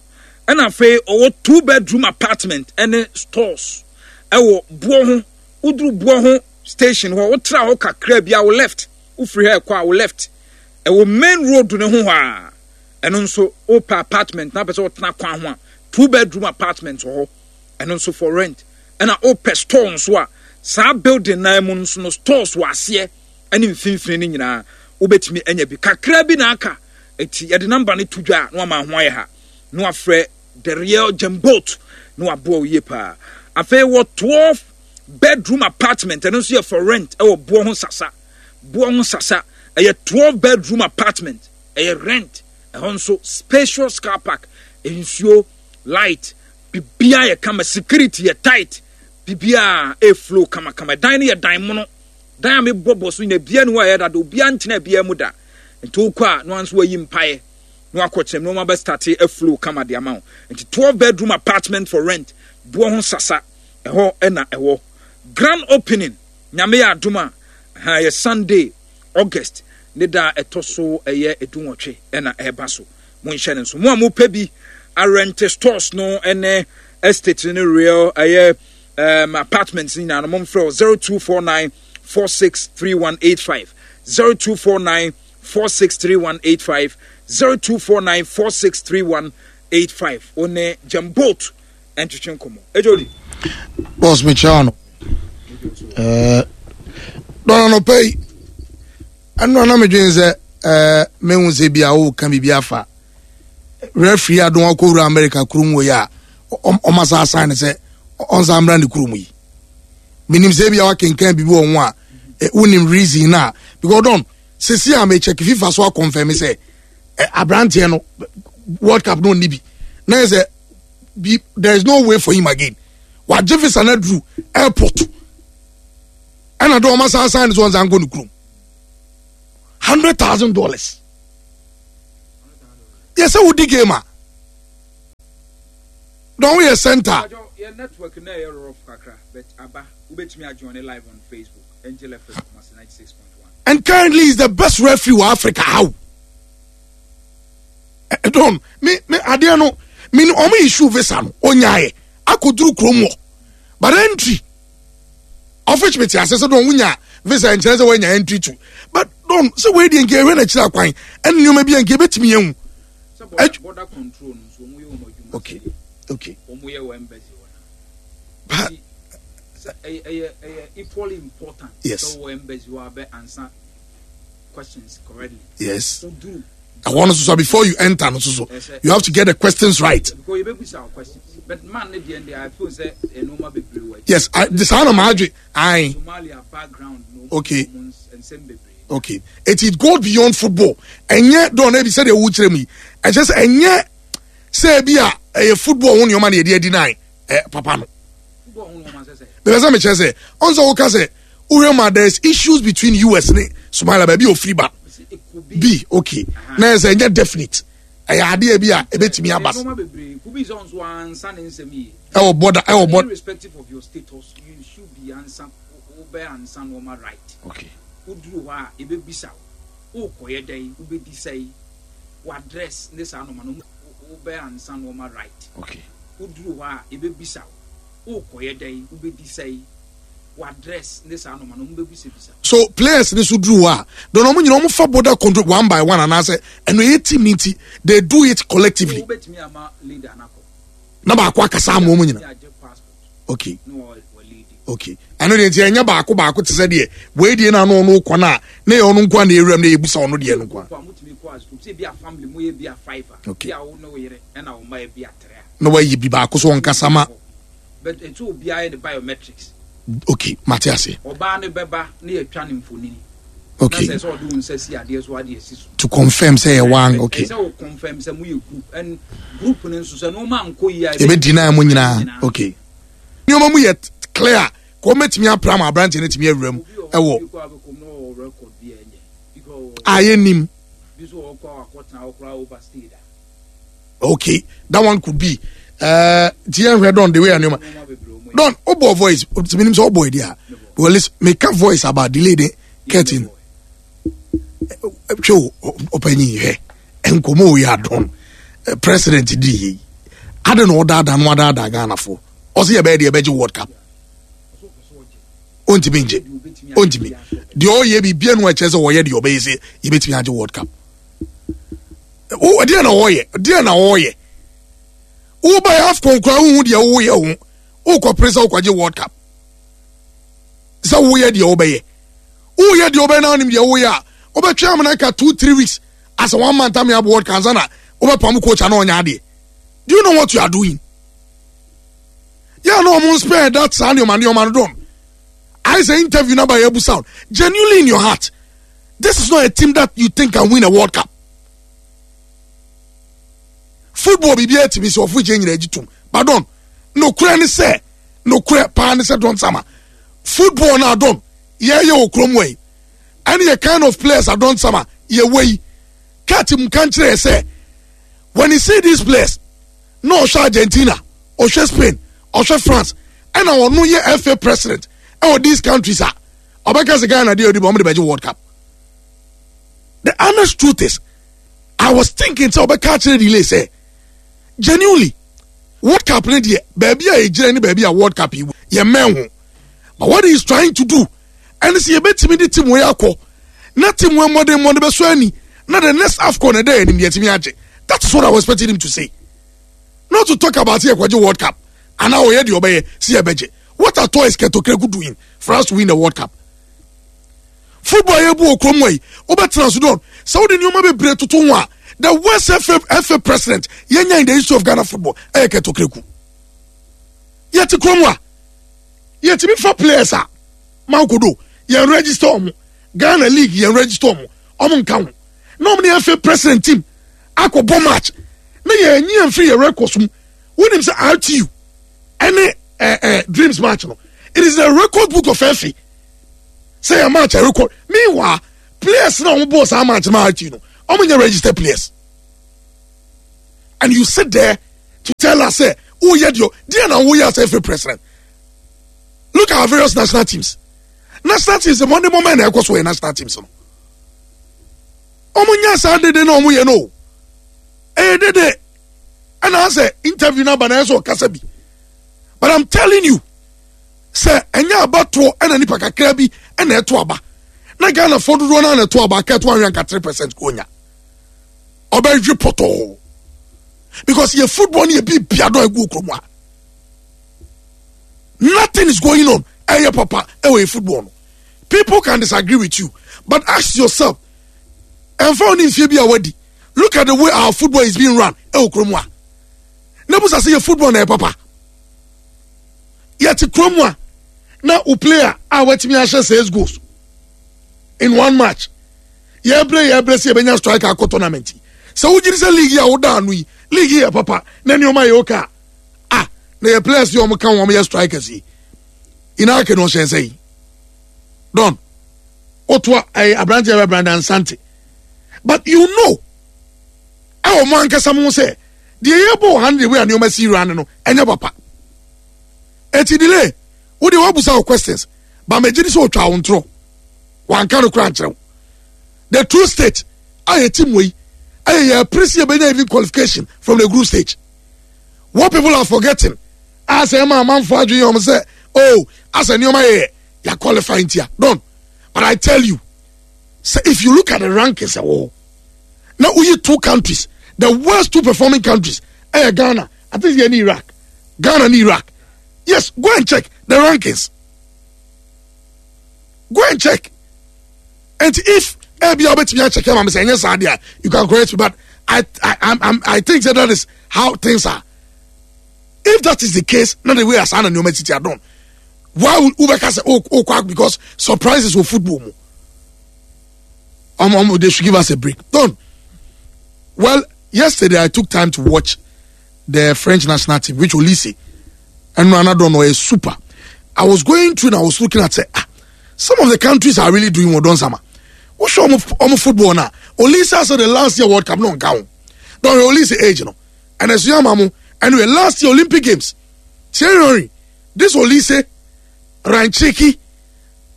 ɛna afei ɔwɔ two bedroom apartment ɛne stores ɛwɔ boɔ ho woduru boɔ ho station hɔ wotra hɔ kakra bi a wo left wofiri ha ɛkɔ a wo left ɛwɔ main road no ho hɔ a Ɛno nso wopɛ apartment na wopɛ sɛ wotena kwan ho a, two bedroom apartment wɔ hɔ. Ɛno nso for rent. Ɛna wopɛ store nso a, saa building nan mu nso no stores wɔ aseɛ ɛne mfimfini no nyinaa wobɛtumi anya bi. Kakra bi na aka. Eti yɛde namba no to dwa a na wama ho ayɛ ha. Na wafrɛ the real Jemboat na waboa wo yie paa. Afei wɔ 12 bedroom apartment ɛno nso yɛ for rent ɛwɔ boɔ ho sasa. Boɔ ho sasa ɛyɛ 12 bedroom apartment. Ɛyɛ rent, ɛhɔ nso spacious car park, nsuo, light, biribiara yɛ kama, security yɛ tight, biribiara ɛflow kamakama. Dan no yɛ dan mono, dan a mebɔ bɔ so nyina biara ni hɔ a ɛyɛ dada, obiara ntena biara mu da. Nti wokɔ a na nso wayi mpaeɛ na wakɔ kyerɛ mu na wɔn abɛstate aflow kama de ama wo. Nti 12 bedroom apartment for rent, boɔ ho sasa, ɛhɔ ɛna ɛwɔ. Grand opening, nyame yɛ adom a, ha yɛ Sunday. August ne da a ɛtɔ so ɛyɛ edunwɔtwe ɛna ɛreba so. Monhyɛ no nso. Mo a mopɛ bi arɛnte stores no ne estate ne real ɛyɛ um, apartments nyinaa no momfrɛ 0249 463185 0249 463185 0249 463185 wo ne Jemboat ntwetwe nkɔmmɔ. Ejodi. Boss mekyia no. Eh, dɔn anɔpa yi ɛno na medwene sɛ eh, mehu sɛ bi a woka biribi afa referee adon akɔwura America kurom wɔ yi a ɔma saa asan ne sɛ ɔnsan mmra ne kurom yi menim sɛ bi a wakenkan biribi wɔ ho a eh, wonim reason no a because dɔn sisi a mekyɛke FIFA so akɔmfɛme sɛ eh, aberanteɛ no World Cup no ɔnni bi na yɛ sɛ bi there is no way for him again. Wagye visa no aduru airport ɛna de ɔma san san ne so ɔnsan nkɔ ne kurom. $100,000. Yɛ sɛ wodi game a dɔn woyɛ center. Yɛ network na ɛyɛ rough kakra but aba wobɛtumi ajoin live on Facebook Angel FM Kumasi 96.1. And currently is the best referee wɔ Africa how? Don me me adeɛ no me ɔmo issue visa no onyaayɛ akɔduru kurom wɔ but entry ɔfitch me te ase sɛ don wonya visa nkyerɛ sɛ woanya entry to but don sɛ wei deɛ nka ɛhwɛ n'akyiri akwan ɛne nneɛma bi a nka ɛbɛtumi ahu. Border control no nso wɔn yɛ wɔn adwuma. Okay. Wɔn yɛ wɔ embassy hɔ na. But ɛyɛ ɛyɛ ɛyɛ equally important. Yes. Sɛ wɔ embassy hɔ abɛ answer questions correctly. Yes. Ɛhɔ no soso before you enter no soso you have to get the questions right. Because you bɛ our questions but man ne deɛ deɛ I feel sɛ ɛnoma bebree wɔ. Yes, I, saa na maa adwe ayi. Somalia background no. Okay. Nsɛm bebree. Okay, it goes beyond football. Ɛnyɛ dɔn na ebi sɛ deɛ ɛwɔ kyerɛ mu yi ɛkyɛ sɛ ɛnyɛ sɛ ebi a ɛyɛ football ho nneɛma na yɛde adi nan ɛ papa no. Bɛbɛ sɛ mekyerɛ sɛ ɔn sɛ woka sɛ wohwɛ ma there is issues between US ne Somalia baabi ofiri ba bi okay na yɛ sɛ ɛnyɛ definite ɛyɛ adeɛ bi a ebetumi aba ɛwɔ border ɛwɔ border. Irrespective of your status, you should be answer wobɛ ansa nneɛma right. Okay. Woduru hɔ a ebebisa wo wokɔyɛ dɛn wobɛdi sɛn w'address ne saa nneɛma no wobɛ ansa nneɛma right. Okay. Woduru hɔ a ebebisa wo wokɔyɛ dɛn wobɛdi sɛn w'address ne saa nneɛma no wɔbɛbisabisa. So players ne so duru hɔ a dɔn wɔn nyinaa wɔn fa border control one by one anaasɛ ɛno ɛyɛ team ne nti they do it collectively. Wobɛtumi ama leader n'akɔ. Na baako akasa ama wɔn nyinaa. Okay. Okay. Ɛno deɛ nti ɛnyɛ baako baako te sɛ deɛ wei deɛ na ano ɔno kɔ no a na yɛ ɔno nko a na ewuram na yɛbusa ɔno deɛ no nko a. Okay. Na wayi bi baako so ɔnkasa ma. But ɛsɛ obiara yɛ ne biometrics. Okay, mate ase. Ɔbaa no bɛba na yɛtwa ne mfonini. Okay. Na sɛ sɛ ɔde wo nsa si adeɛ so adeɛ si so. To confirm sɛ yɛ wan okay. Ɛsɛ wo confirm sɛ mo yɛ group and group no nso sɛ nneɛma nkɔ yie a. Ebe deny mo nyinaa okay. Nneɛma mu yɛ clear kò mɛtumi apra ma aberanteɛ no tumi awura mu ɛwɔ. A yɛ nim. Okay, that one could be. Ti yɛn hwɛ don the way nneɛma don o bɔ voice o ti mi nim sɛ o bɔ edi a well listen meka voice about delay de curtain hwɛ o ɔpanyin hwɛ nkɔmɔ o yɛ adɔn president di yie adi na ɔdaadaa no adaadaa Ghana fo ɔsi yɛ bɛyɛ deɛ ɛbɛgye World Cup ontumi ngye ontumi deɛ ɔyɛ bi bia no ɛkyɛ sɛ ɔyɛ deɛ ɔbɛyɛ sɛ yɛbɛtumi agye World Cup deɛ na ɔyɛ deɛ na ɔyɛ woba yɛ AFCON koraa wohu deɛ woyɛ ho wokɔpere sɛ wokɔgye World Cup sɛ woyɛ deɛ wobɛyɛ woyɛ deɛ wobɛyɛ na wonim deɛ woyɛ a wobɛtwe amena nka 2 3 weeks asɛ one month ame abɔ World Cup ansa na wobɛpam coach ana ɔnyɛ adeɛ. Do you know what you are doing? Yɛ na ɔmo spare that saa nneɛma nneɛma no dɔn ayɛ sɛ interview na ba yɛ abu sound genuinely in your heart, this is not a team that you think can win a World Cup. Football biribi atumi sɛ ɔfo kyɛ nyina agyi tom but don nokorɛ ne sɛ nokorɛ paa ne sɛ don sama football na adon yɛyɛ wɔ kurom wɔ yi ɛne yɛ kind of players adon sama yɛwɔ yi kat mu ka nkyerɛ yɛ sɛ when you see these players na ɔhwɛ Argentina, ɔhwɛ Spain, ɔhwɛ France, ɛna ɔno yɛ FA president ɛwɔ these countries a ɔbɛka sɛ Ghana deɛ ɔdi bɔ ɔmo de bɛgye World Cup. The honest truth is I was thinking sɛ ɔbɛka akyerɛ delay sɛ genuinely World Cup ne deɛ baabi a yɛgyina ne baabi a World Cup yi yɛ mmɛn ho, but what he is trying to do ɛne sɛ yɛbɛtumi de team wei akɔ na team wei mmɔden mmɔden bɛsɔ ani na the next AFCON ɛdɛ yɛ anim yɛtumi agye. That is what I was expecting him to say, not to talk about yɛ kɔgye World Cup anaa ɔyɛ deɛ ɔbɛyɛ si yɛbɛgye. What at all is Kurt Okraku doing for us to win the World Cup? Football yɛ bu okurom wɔ yi wobɛtena so don sɛ wode nneɛma bebree toto ho a the worst FA president yɛnya in the history of Ghana football ɛyɛ Kurt Okraku. Yɛte kurom a yɛtumi fa players a mankodo yɛn register ɔmo Ghana league, yɛn register ɔmo, ɔmo nka ho na ɔmo ne FA president team akɔbɔ match na yɛn nyi yɛn firi yɛn records mu. Wonim sɛ RTU ɛne Dreams match no, it is the record book of FA sɛ yɛ match a record. Meanwhile, players na wɔn bɔ saa match ma akyi no, wɔn nyɛ registered players, and you sit there to tell us say oh yɛ deɛ deɛ na wɔyɛ as FA president. Look at our various national teams. National teams wɔn de mɔmɔ na ɛkɔ so yɛ national teams no, wɔn nyɛ saa dede na wɔn yɛ no ɛyɛ dede. Ɛna asɛ interview na aba na ɛsɛ ɔkasa bi, but I'm telling you sɛ ɛnyɛ abatoɔ ɛna nipa kakra bi ɛna ɛto aba na Ghana fo dodoɔ naa na ɛto aba akɛto ahwɛ nka 3% ko nya ɔbɛhwe pɔtɔɔ, because yɛ football ni yɛ bi bia dɔ egu kurom a nothing is going on. Ɛyɛ papa ɛwɔ yɛ football no. People can disagree with you, but ask yourself, ɛnfa wɔn ni nfie bi a wadi, look at the way our football is being run ɛwɔ kurom a na busa sɛ yɛ football na yɛ papa. Yɛte kurom a na o player a watumi ahyɛ six goals in one match, yɛbrɛ yɛbrɛ sɛ yɛbɛnya striker akɔ tournament yi. Sɛ wogyiri sɛ league yi a woda ano yi, league yi yɛ papa na nneɛma yɛ okay a, ah, na yɛ players yi a wɔn ka wɔn yɛ strikers yi inaake na ɔhyɛ nsa yi don otoa ɛyɛ aberanteɛ bɛ Brandon Sante, but you know ɛwɔ mo ankasa mo sɛ deɛ yɛbɔ wɔ ha no, deɛ wei a nneɛma si wura no no ɛnyɛ papa. Eti delay wo deɛ wabusa wo questions ba mɛ gyidi sɛ otwa wo ntorɔ wanka no kora nkyerɛw. The true state a yɛ team wei ɛyɛ yɛ apirisi yɛ bɛnya even qualification from the group stage. What people are forgetting a sɛ ɛma amanfo adwene yɛ wɔn sɛ, oh, asɛ nneɛma yɛ yɛ qualify ntia don. But I tell you sɛ if you look at the rankings ɛwɔ hɔ na woyi two countries, the worst two performing countries ɛyɛ Ghana, I think yɛ ne Iraq. Ghana ne Iraq, yes. Go and check the rankings, go and check. And if ebi a wobɛtumi akyɛkɛ ma me sɛ ɛnyɛ saa deɛ, you can correct me, but I think that, that is how things are. If that is the case na the way asa na nneɛma titi adɔn, why would wobɛka sɛ oh oh kwak? Because surprises wɔ football mu. They should give us a break. Don, well, yesterday I took time to watch the French national team, which Olise and another no is super. I was going through and I was looking at say, ah, some of the countries are really doing well. Don sama what's your football now? Olise said the last year World Cup no count. Don, Olise age no and as you mamu anyway, last year Olympic Games, Thierry, this Olise, Ranchiki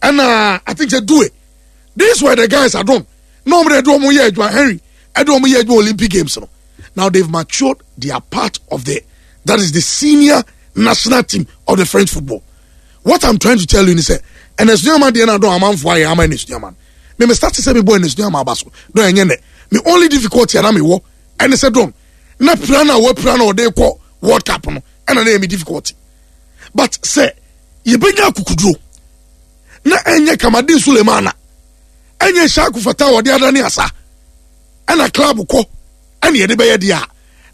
and I think they do it. These were the guys I don't no they do mo yɛ adwuma, Henry ɛde wɔn yɛ adwuma Olympic Games no. Now they've matured, they are part of the, that is the senior national team of the French football. What I'm trying to tell you is sɛ ɛnɛ sunyama deɛ na dɔn amanfo ayɛ ama ɛnɛ sunyama me me start sɛ me bɔ ɛnɛ sunyama aba so dɔn ɛnyɛ nɛ me only difficulty ana me wɔ ɛne sɛ dɔn na pira na wɔ pira na ɔde kɔ World Cup no ɛna na yɛ me difficulty. But sɛ yɛbɛnya akukuduro na ɛnyɛ Kamaldeen Sulemana, ɛnyɛ Shaku Fata a ɔde adane asa ɛna club kɔ ɛna yɛde bɛyɛ deɛ a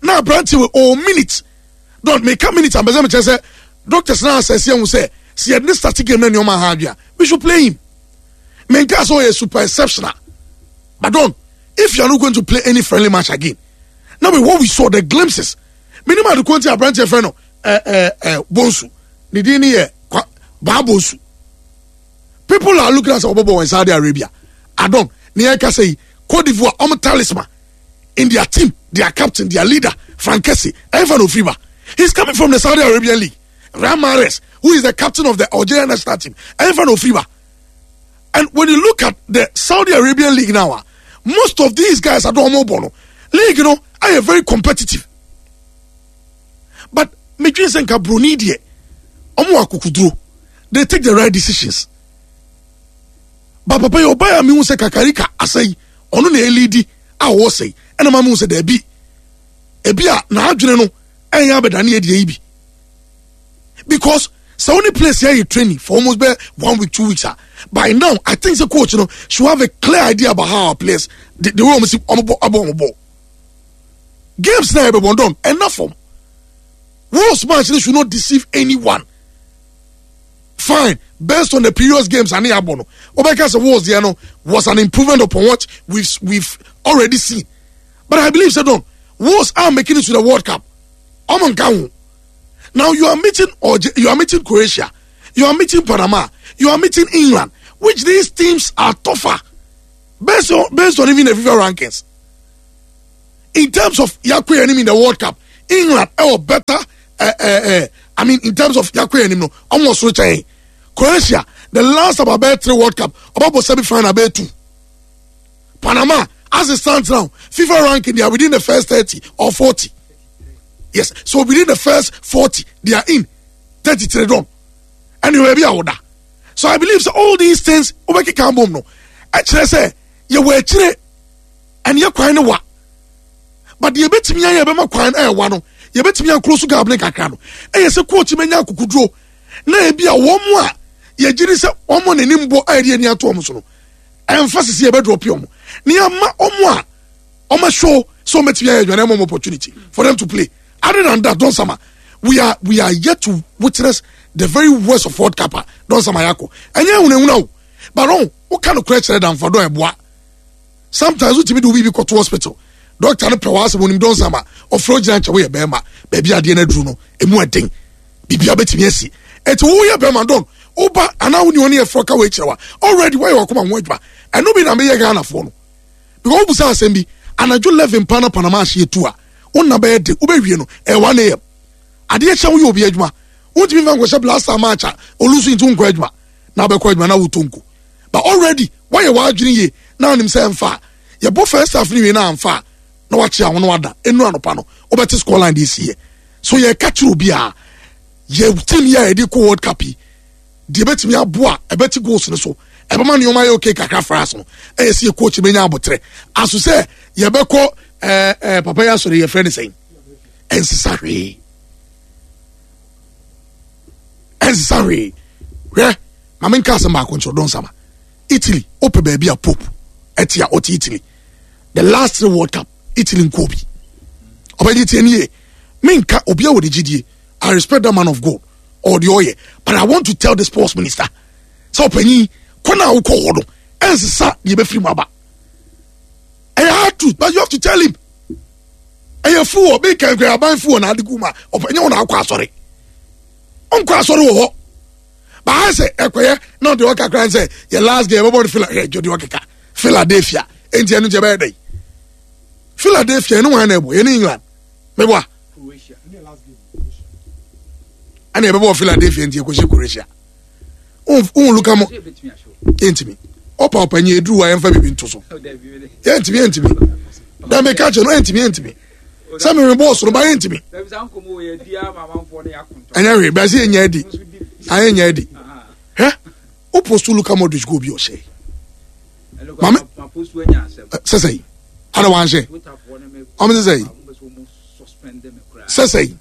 na aberante wɔ all minute don meka minute ambɛsɛ mekyerɛ sɛ doctors na asɛse ɛho sɛ sɛ yɛde ne start game na nneɛma ha adwea, we should play him. Menka sɛ ɔyɛ super exceptional, but don, if you are not going to play any friendly match again now, with what we saw, the glimpses, minimum adeko nti aberanteɛ fɛ no ɛɛ ɛɛ ɛɛ Bonsu ne din ne yɛ Baa Bonsu. People are looking at sɛ ɔbɛbɔ wɔ Saudi Arabia adon ne yɛn kasa yi. Cote d'Ivoire ɔmo talisman in their team, their captain, their leader, Frank Kessie, ɛnfa na ofiri ba? He's coming from the Saudi Arabian league. Riyad Mahrez, who is the captain of the Algerian national team, ɛnfa na ofiri ba? And when you look at the Saudi Arabian league now, ah, most of these guys are ɔmo bɔ no league no ayɛ very competitive. But medwene sɛ nka broni deɛ ɔmo wɔ akokuduro, they take the right decisions. But papa yi ɔbaa a mehu sɛ kakarika asɛe ɔno na ɛlidi a ɔwɔ sɛe ɛna ma mehu sɛ daabi ebi a n'adwene no ɛnyɛ abɛdane adie yi bi, because sɛ wo ne place yɛ training for almost bɛ one week, 2 weeks ah, by now I think the coach no should have a clear idea about how our players, the way ɔmo si ɔmo bɔ abɔ ɔmo bɔ games na ɛbɛ bɔ dɔn enough fam. Wolves match no should not deceive anyone. Fine, based on the previous games ane abɔ no, wobɛka sɛ Wolves deɛ no was an improvement upon what we've already seen, but I believe sɛ don Wolves are making it to the World Cup, ɔmo nka ho. Now you are meeting you are meeting Croatia, you are meeting Panama, you are meeting England, which these teams are tougher based on based on even the FIFA rankings. In terms of Yakwe anim in the World Cup, England ɛwɔ better. I mean, in terms of Yakwe anim no, almost kyɛn Croatia. The last about bɛyɛ three World Cup, about semi final bɛyɛ two. Panama, as it stands now, FIFA ranking they are within the first 30 or 40. Yes, so within the first 40, they are in 33 done. Anyway, be out. So I believe so all these things wobɛkeka bom no ɛkyerɛ sɛ yɛwɔ akyire ɛne yɛ kwan no wa but deɛ yɛbɛtumi ayɛ ɛbɛma kwan no ɛwa no yɛbɛtumi akuro so gab ne kakra no ɛyɛ sɛ coach bɛnya akokoduro na ebi a wɔn mu a yɛgye di sɛ wɔn mu n'anim bɔ a yɛde ani ato wɔn so no ɛnfa sisi yɛbɛdrɔpe wɔn na yɛama wɔn a wɔn ahyɛ sɛ wɔn bɛtumi ayɛ adwuma na ɛma wɔn opportunity for them to play. Other than that, Don Sama, we are yet to witness the very worst of World Cup a Don Sama yako. Ɛnyɛ ehunahuna o, but ɔn woka no korɛ kyerɛ danfa dɔn ɛboa. Sometimes wotumi de obi bi kɔto hospital, doctor no pɛ w'asɛm, onim Don Sama, ɔfrɛ ogyina nkyɛn, woyɛ bɛrima, baabi adeɛ no aduru no emu ɛden, biribi abɛtumi asi, eti woyɛ bɛrima don woba anaa wo ni wɔn yɛ frɔ ka wɔ ekyirɛ wa already wɔyɛ wakoma ho adwuma. Ɛno bi na meyɛ Ghanafoɔ no because wobusa asɛm bi anadwo 11 pa na Panama ahye etu a wonna bɛyɛ de wobɛwie no ɛyɛ 1 a.m. Adeɛ kyɛn woyɛ obi adwuma, wontumi nfa nkɔhyɛ blaster match a olusu nti wonkɔ adwuma na abɛkɔ adwuma na wotɔ nko, but already wɔyɛ w'adwene yie na anim sɛ ɛmfa a yɛbɔ first half no wie na amfa a na wakye aho no wada enu anɔpa no wobɛte score line de esi yɛ. So yɛka kyerɛ obi a yɛ team yi a yɛde kɔ World Cup yi deɛ ɛbɛtumi aboa, ɛbɛte goals no so, ɛbɛma nneɛma yɛ okay kakra fra no, ɛyɛ sɛ yɛ coach bɛnya abotrɛ aso sɛ yɛbɛkɔ ɛɛ ɛɛ papa yi asɔre yɛfrɛ ne sɛn, ɛnsesa hwee, ɛnsesa hwee. Hwɛ, maame nka asɛm baako nkyerɛ Don Sama. Italy wopɛ baabi a Pope ɛte a ɔte Italy. The last three World Cup, Italy nkɔɔ bi. Ɔbɛgye tie nie, menka obi a wɔde gyidie. I respect that man of God or the ɔyɛ, but I want to tell the sports minister sɛ ɔpanyin kɔ na awokɔ hɔ no ɛnsesa deɛ ɛbɛfiri mu aba. Ɛyɛ hard truth, but you have to tell him. Ɛyɛ fu wɔ bi kankan aban fu wɔ na ade gu mu a ɔpanyin wɔ na akɔ asɔre, ɔnkɔ asɔre wɔ hɔ baa sɛ ɛkɔyɛ na ɔde ɔka kora sɛ yɛ last game ɛbɛbɔ no Phila hwɛ dwo de ɔkeka Philadelphia enti ɛno nti ɛbɛyɛ dɛ Philadelphia ɛne wɔn na ɛbɔ yɛne England mɛbɔ a ɛna ɛbɛbɔ Philadelphia nti ɛkɔhyɛ Croatia ohun luka mo yɛntumi ɔpa ɔpanyin eduru wa yɛnfa bibi nto so yɛntumi yɛntumi dɛm ɛka kyerɛ no yɛntumi yɛntumi sɛ mímí bɔɔl soro ba yɛntumi ɛnyɛ hwee bɛsi yɛ nyɛ adi ayɛ nyɛ adi. Hwɛ, o post Luka Modric goal bi ɔhyɛ maame sɛsɛ yi ada wanhyɛ ɔmo sɛsɛ yi sɛsɛ yi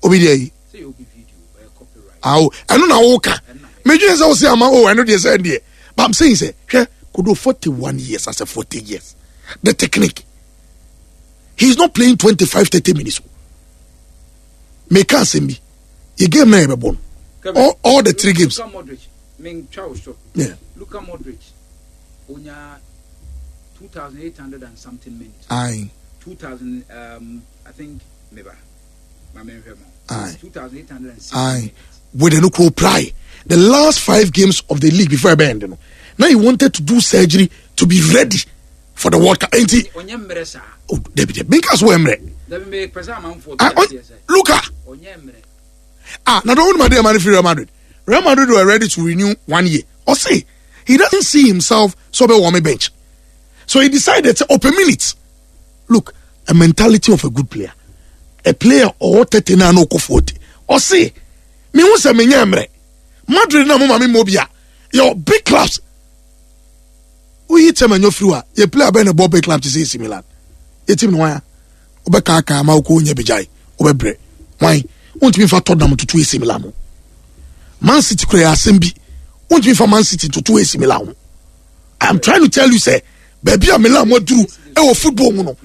obi deɛ yi awo ɛno na woka medwene sɛ wo se ama o ɛno deɛ sɛ deɛ, but I'm saying sɛ hwɛ kodo 41 years, asɛ 40 years, the technique, he's not playing 25 30 minutes. Meka asɛm bi, yɛ game na yɛbɛbɔ no all the three games. Luka Modric, mentwa wo so. Luka Modric onya 2800 and something minutes. Aye. 2000 I think meba ma menhwɛ mo. Aye. 2860 Aye. minutes. With the nuclear ply the last five games of the league before ɛbɛn end no, now he wanted to do surgery to be ready for the World Cup. Enti ɔnyɛ mmerɛ saa. Oh, dabi dabi, menka so wɔ mmerɛ. Dabi, mepɛ sɛ amanfoɔ Ah, te aseɛ sɛ Luka ɔnyɛ mmerɛ. Ah, na don't want money for Real Madrid. Real Madrid were ready to renew one year. Or say he doesn't see himself so be warm bench. So he decided to open minutes. Look, a mentality of a good player. A player or 39 or 40. Or say, me who say me nyamre. Madrid na mo mami mobia. Your big clubs. We hit him and you free. You play a ben a big club to say AC Milan. You team no one. Wobɛkaaka ama wokɔ wonya bigyae wobɛbrɛ wan wontumi mfa Tottenham toto AC Milan ho, Man City kura yɛ asɛm bi, wontumi mfa Man City toto AC Milan ho. I am trying to tell you sɛ baabi a Milan mo aduru ɛwɔ football mu no,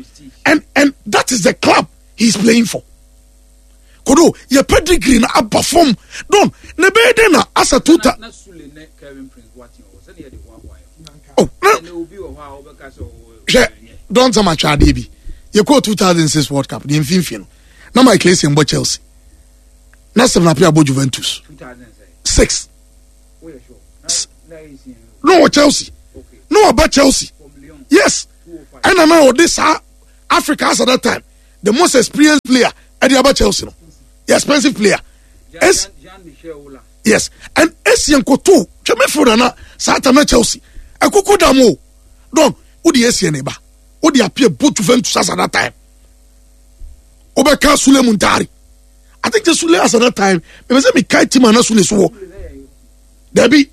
and that is the club he is playing for. Kodo yɛ pedigree na aba fam don na ɛbɛyɛ dɛn na asa tuta. Na Sule ne Kevin Prince Boateng wɔ sɛdeɛ yɛde hoahoa yɛ. Oh, na ɛnɛ obi wɔ hɔ a wobɛka sɛ hwɛ, don sɛ matwa adeɛ bi, yɛkɔɔ 2006 World Cup deɛ mfimfini no. Na Michael Essien bɔ Chelsea. Na Stephen Appiah bɔ Juventus. 6. Na ɔwɔ Chelsea. Na ɔba Chelsea. Yes. Ɛna na ɔde saa Africa as at that time the most experienced player ɛde aba Chelsea no. The expensive player. Es yes and Essien koto twɛ midfielder na saa time na Chelsea ɛkoko dam o don wode Essien ne ba wode Appiah bɔ Juventus as at that time wobɛka Sule Muntari I think sɛ Sule as at that time mepɛ sɛ mekae team a na Sule so wɔ dabi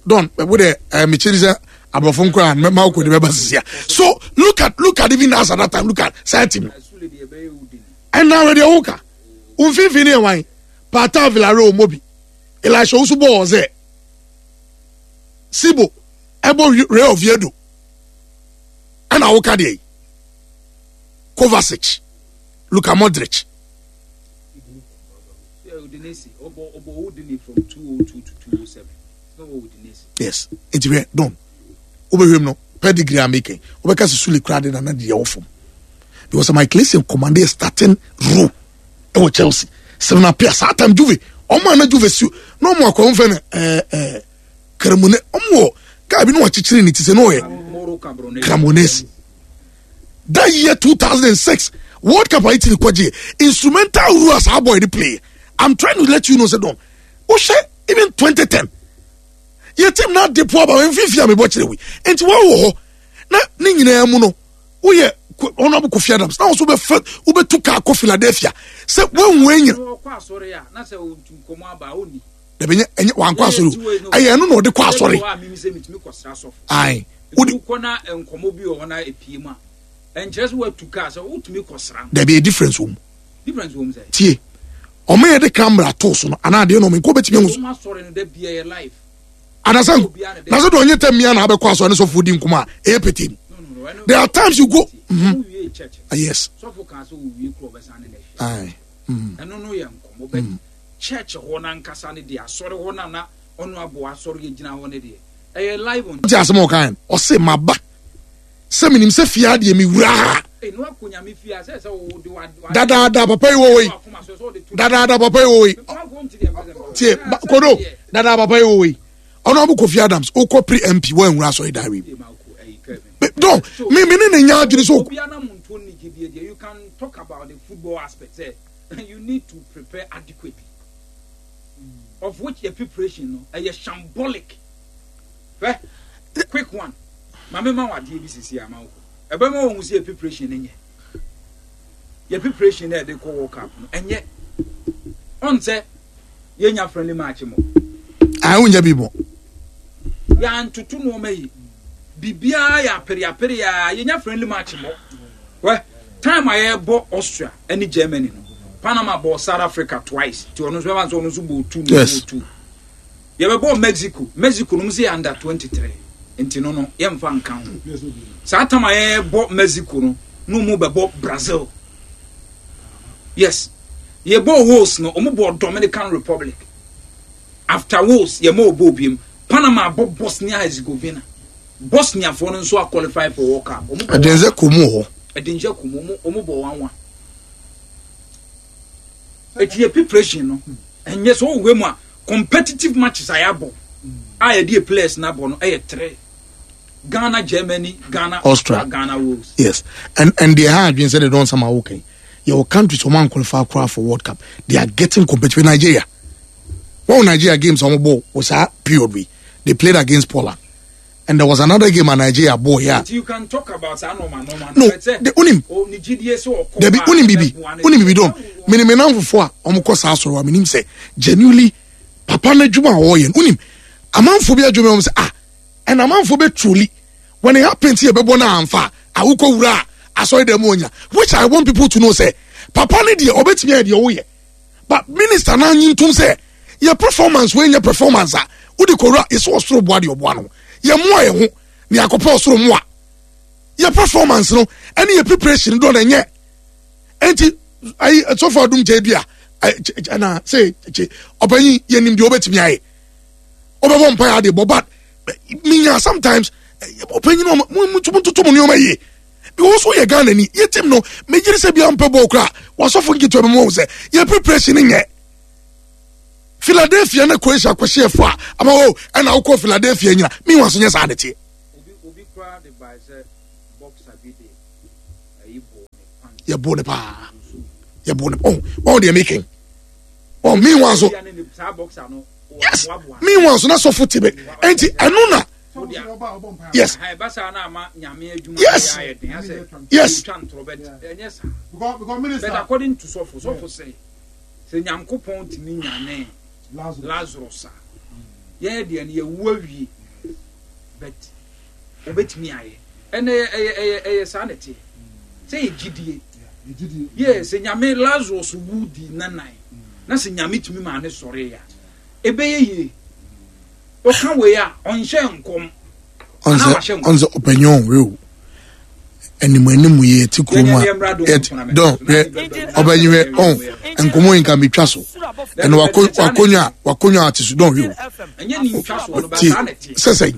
don wo de eh, mekyiri sɛ aborɔfo nkora mɛma wokɔ de bɛba sisia so look at look at even as at that time look at saa team ɛna wɛdeɛ woka wo mfimfini yɛ wan pata villarreal mobi elisha wo so bɔɔ sɛ sibo ɛbɔ real oviedo ɛna woka deɛ yi kovacic luka modric yes nti hwɛ don wobɛhwɛ mu no pedigree a meka wobɛka sɛ sule koraa de nana deɛ wɔ fam because Michael Essien commanded starting role ɛwɔ Chelsea sɛm na pia saa time Juve ɔmo a na Juve si na ɔmo akɔ ɔmo fɛ no ɛɛ ɛɛ Cremone ɔmo wɔ guy bi na wakyekyere ne ti sɛ na ɔyɛ Cremonese that year 2006 World Cup a Italy kɔgye instrumental role as our boy dey play I'm trying to let you know say don wohwɛ even 2010 yɛ team na ade po aba mfimfini a mebɔ kyerɛ wei nti wɔwɔ hɔ na ne nyinaa mu no woyɛ honorable Kofi Adams na wɔn nso bɛfɛ wobɛtu kaa kɔ Philadelphia sɛ wɔnhu enyina dabi nyɛ ɛnyɛ wankɔ asɔre o ɛyɛ ɛno na ɔde kɔ asɔre ayi wodi kɔ na nkɔmɔ bi wɔ hɔ na epie mu a ɛnkyerɛ sɛ watu kaa sɛ wotumi kɔ sra dabi yɛ difference wɔ mu difference wɔ mu sɛ tie ɔmo yɛ de camera to so no anaa adeɛ na ɔmo nkɔ bɛtumi ehu so asɔre no da bia yɛ live anasɛ na sɛ de ɔnyɛ tɛ mmea na abɛkɔ asɔre ne sɔfo di nkɔmɔ a ɛyɛ pete mu there are times you go mm -hmm. yes sɔfo kan sɛ owie kuro ɔbɛsan ne n'ahwɛ ayi ɛno no yɛ nkɔmɔ bɛ church hɔ n'ankasa ne deɛ asɔre hɔ na na ɔno aboa asɔre yɛ gyina hɔ ne deɛ ɛyɛ live on. ti asɛm a ɔka yɛn ɔse maba sɛ menim sɛ fie adeɛ mewura ha dadaada papa yi wɔ yi dadaada papa yi wɔ yi tie kodo dadaada papa yi wɔ yi ɔno abo Kofi Adams okɔ pre mp wɔn nwura asɔre dan wi don mi mi ne ne nya adwene so. You can talk about the football aspect. Eh? You need to prepare adequately. Of which your preparation no, ɛyɛ shambolic. Hwɛ, quick one. Maame ma wadeɛ bi sisi ama wo. Ɛbɛma wɔn ho sɛ yɛ preparation no nyɛ. Yɛ preparation na yɛde kɔ World Cup no ɛnyɛ. Ɔn sɛ yɛnya friendly match mo. Ayi wonya bi bɔ. Yɛantoto nneɛma yi. Biribiara yɛ apereapere a yɛnya friendly match mo. Wɛ time a yɛbɔ Austria ɛne Germany no Panama bɔ South Africa twice. Ti ɔno nso bɛma nso ɔno nso bɔ two no bɔ two. Yɛbɛbɔ Mexico. Mexico no mo sɛ yɛ under 23 nti no no yɛmfa nka ho. Saa time a yɛbɔ Mexico no no mo bɛbɔ Brazil. Yes. Yɛbɔ Wales no ɔmo bɔ Dominican Republic. After Wales yɛma ɔbɔ obiem. Panama bɔ Bosnia Herzegovina. Bosniafoɔ no nso a qualify for World Cup. Ɔmo bɔ Ɛdɛnzɛ kɔ mu wɔ hɔ. Ɛdɛnzɛ kɔ mu ɔmo ɔmo bɔ 1-1. Eti yɛ preparation no ɛnyɛ sɛ ɔwɔ mu a competitive matches a yɛabɔ a yɛde yɛ players no abɔ no ɛyɛ three. Ghana, Germany, Ghana, Austria, Ghana, Wales. Yes, and they are adwene sɛ they don't sama okay. Your countries wɔn qualify koraa for World Cup. They are getting competitive. Nigeria, wɔn Nigeria games wɔn bɔ wɔ saa period bi. They played against Poland, and there was another game at Nigeria bɔ yeah. But you can talk about saa normal normal. No, the unim. Debi unim bibi unim bibi don. Mini mi nan fufu a wɔn kɔ saa sɔrɔ wa mi nim sɛ genuinely papa n'adwuma a ɔyɛ no unim amanfo bi adwuma wɔn sɛ ah ɛna amanfo bɛ truly when it happens yɛ bɛbɔ na anfa a awokɔ wura a asɔre dɛm onya which I want people to know sɛ papa ne deɛ ɔbɛtumi ayɛ deɛ ɔyɛ but minister naa nyi ntum sɛ yɛ performance wei nyɛ performance a wode kɔwura yɛsɛ ɔsoro boa deɛ ɔboa no yɛ mmoa yɛ ho ne akɔpɛ ɔsoro mmoa yɛ performance no ɛne yɛ preparation dɔ na ɛnyɛ enti ayi sɔfo adum kyɛ bi a ɛna sɛ kye ɔpanyin yɛnim deɛ ɔbɛtumi ayɛ ɔbɛbɔ mpa yɛ adeɛ bɔ but minya sometimes ɔpanyin no mo mo toto mo nneɛma yie. Because wo yɛ Ghana ni yɛ team no megyere sɛ bia mpɛ bɔɔl koraa wasɔfo nketewa bi mu wɔn sɛ yɛ preparation nyɛ. Philadelphia na Croatia kɔhyɛ ɛfo a ama o ɛna wokɔ Philadelphia nyina meanwhile so nyɛ saa ne teɛ. Yɛbo ne paa yɛbo ne ɔn wɔn deɛ meken ɔn meanwhile so yes meanwhile so na sɔfo te bɛ ɛnti ɛno na yes yes yes. But according to sɔfo sɔfo sɛ sɛ Nyankopɔn tumi nyanee Lazarus a yɛn deɛ no yɛwu awie but obetumi ayɛ ɛnna ɛyɛ ɛyɛ ɛyɛ ɛyɛ saa na ɛteɛ sɛ yɛ gyidie yɛ sɛ Nyame Lazarus wu di nanan na sɛ Nyame tumi maa ne sɔre ya ɛbɛyɛ yie ɔka wei a ɔnhyɛ nkɔm ɔnsɛ ɔpanyin ɔnwe o anim anim yɛ ti kurom a dɔn hwɛ ɔbɛnyin hwɛ ɔn nkɔmɔ yi nka mi twa so ɛna wakonnwa wakonnwa ate so dɔn hwɛ o ti sɛsɛn.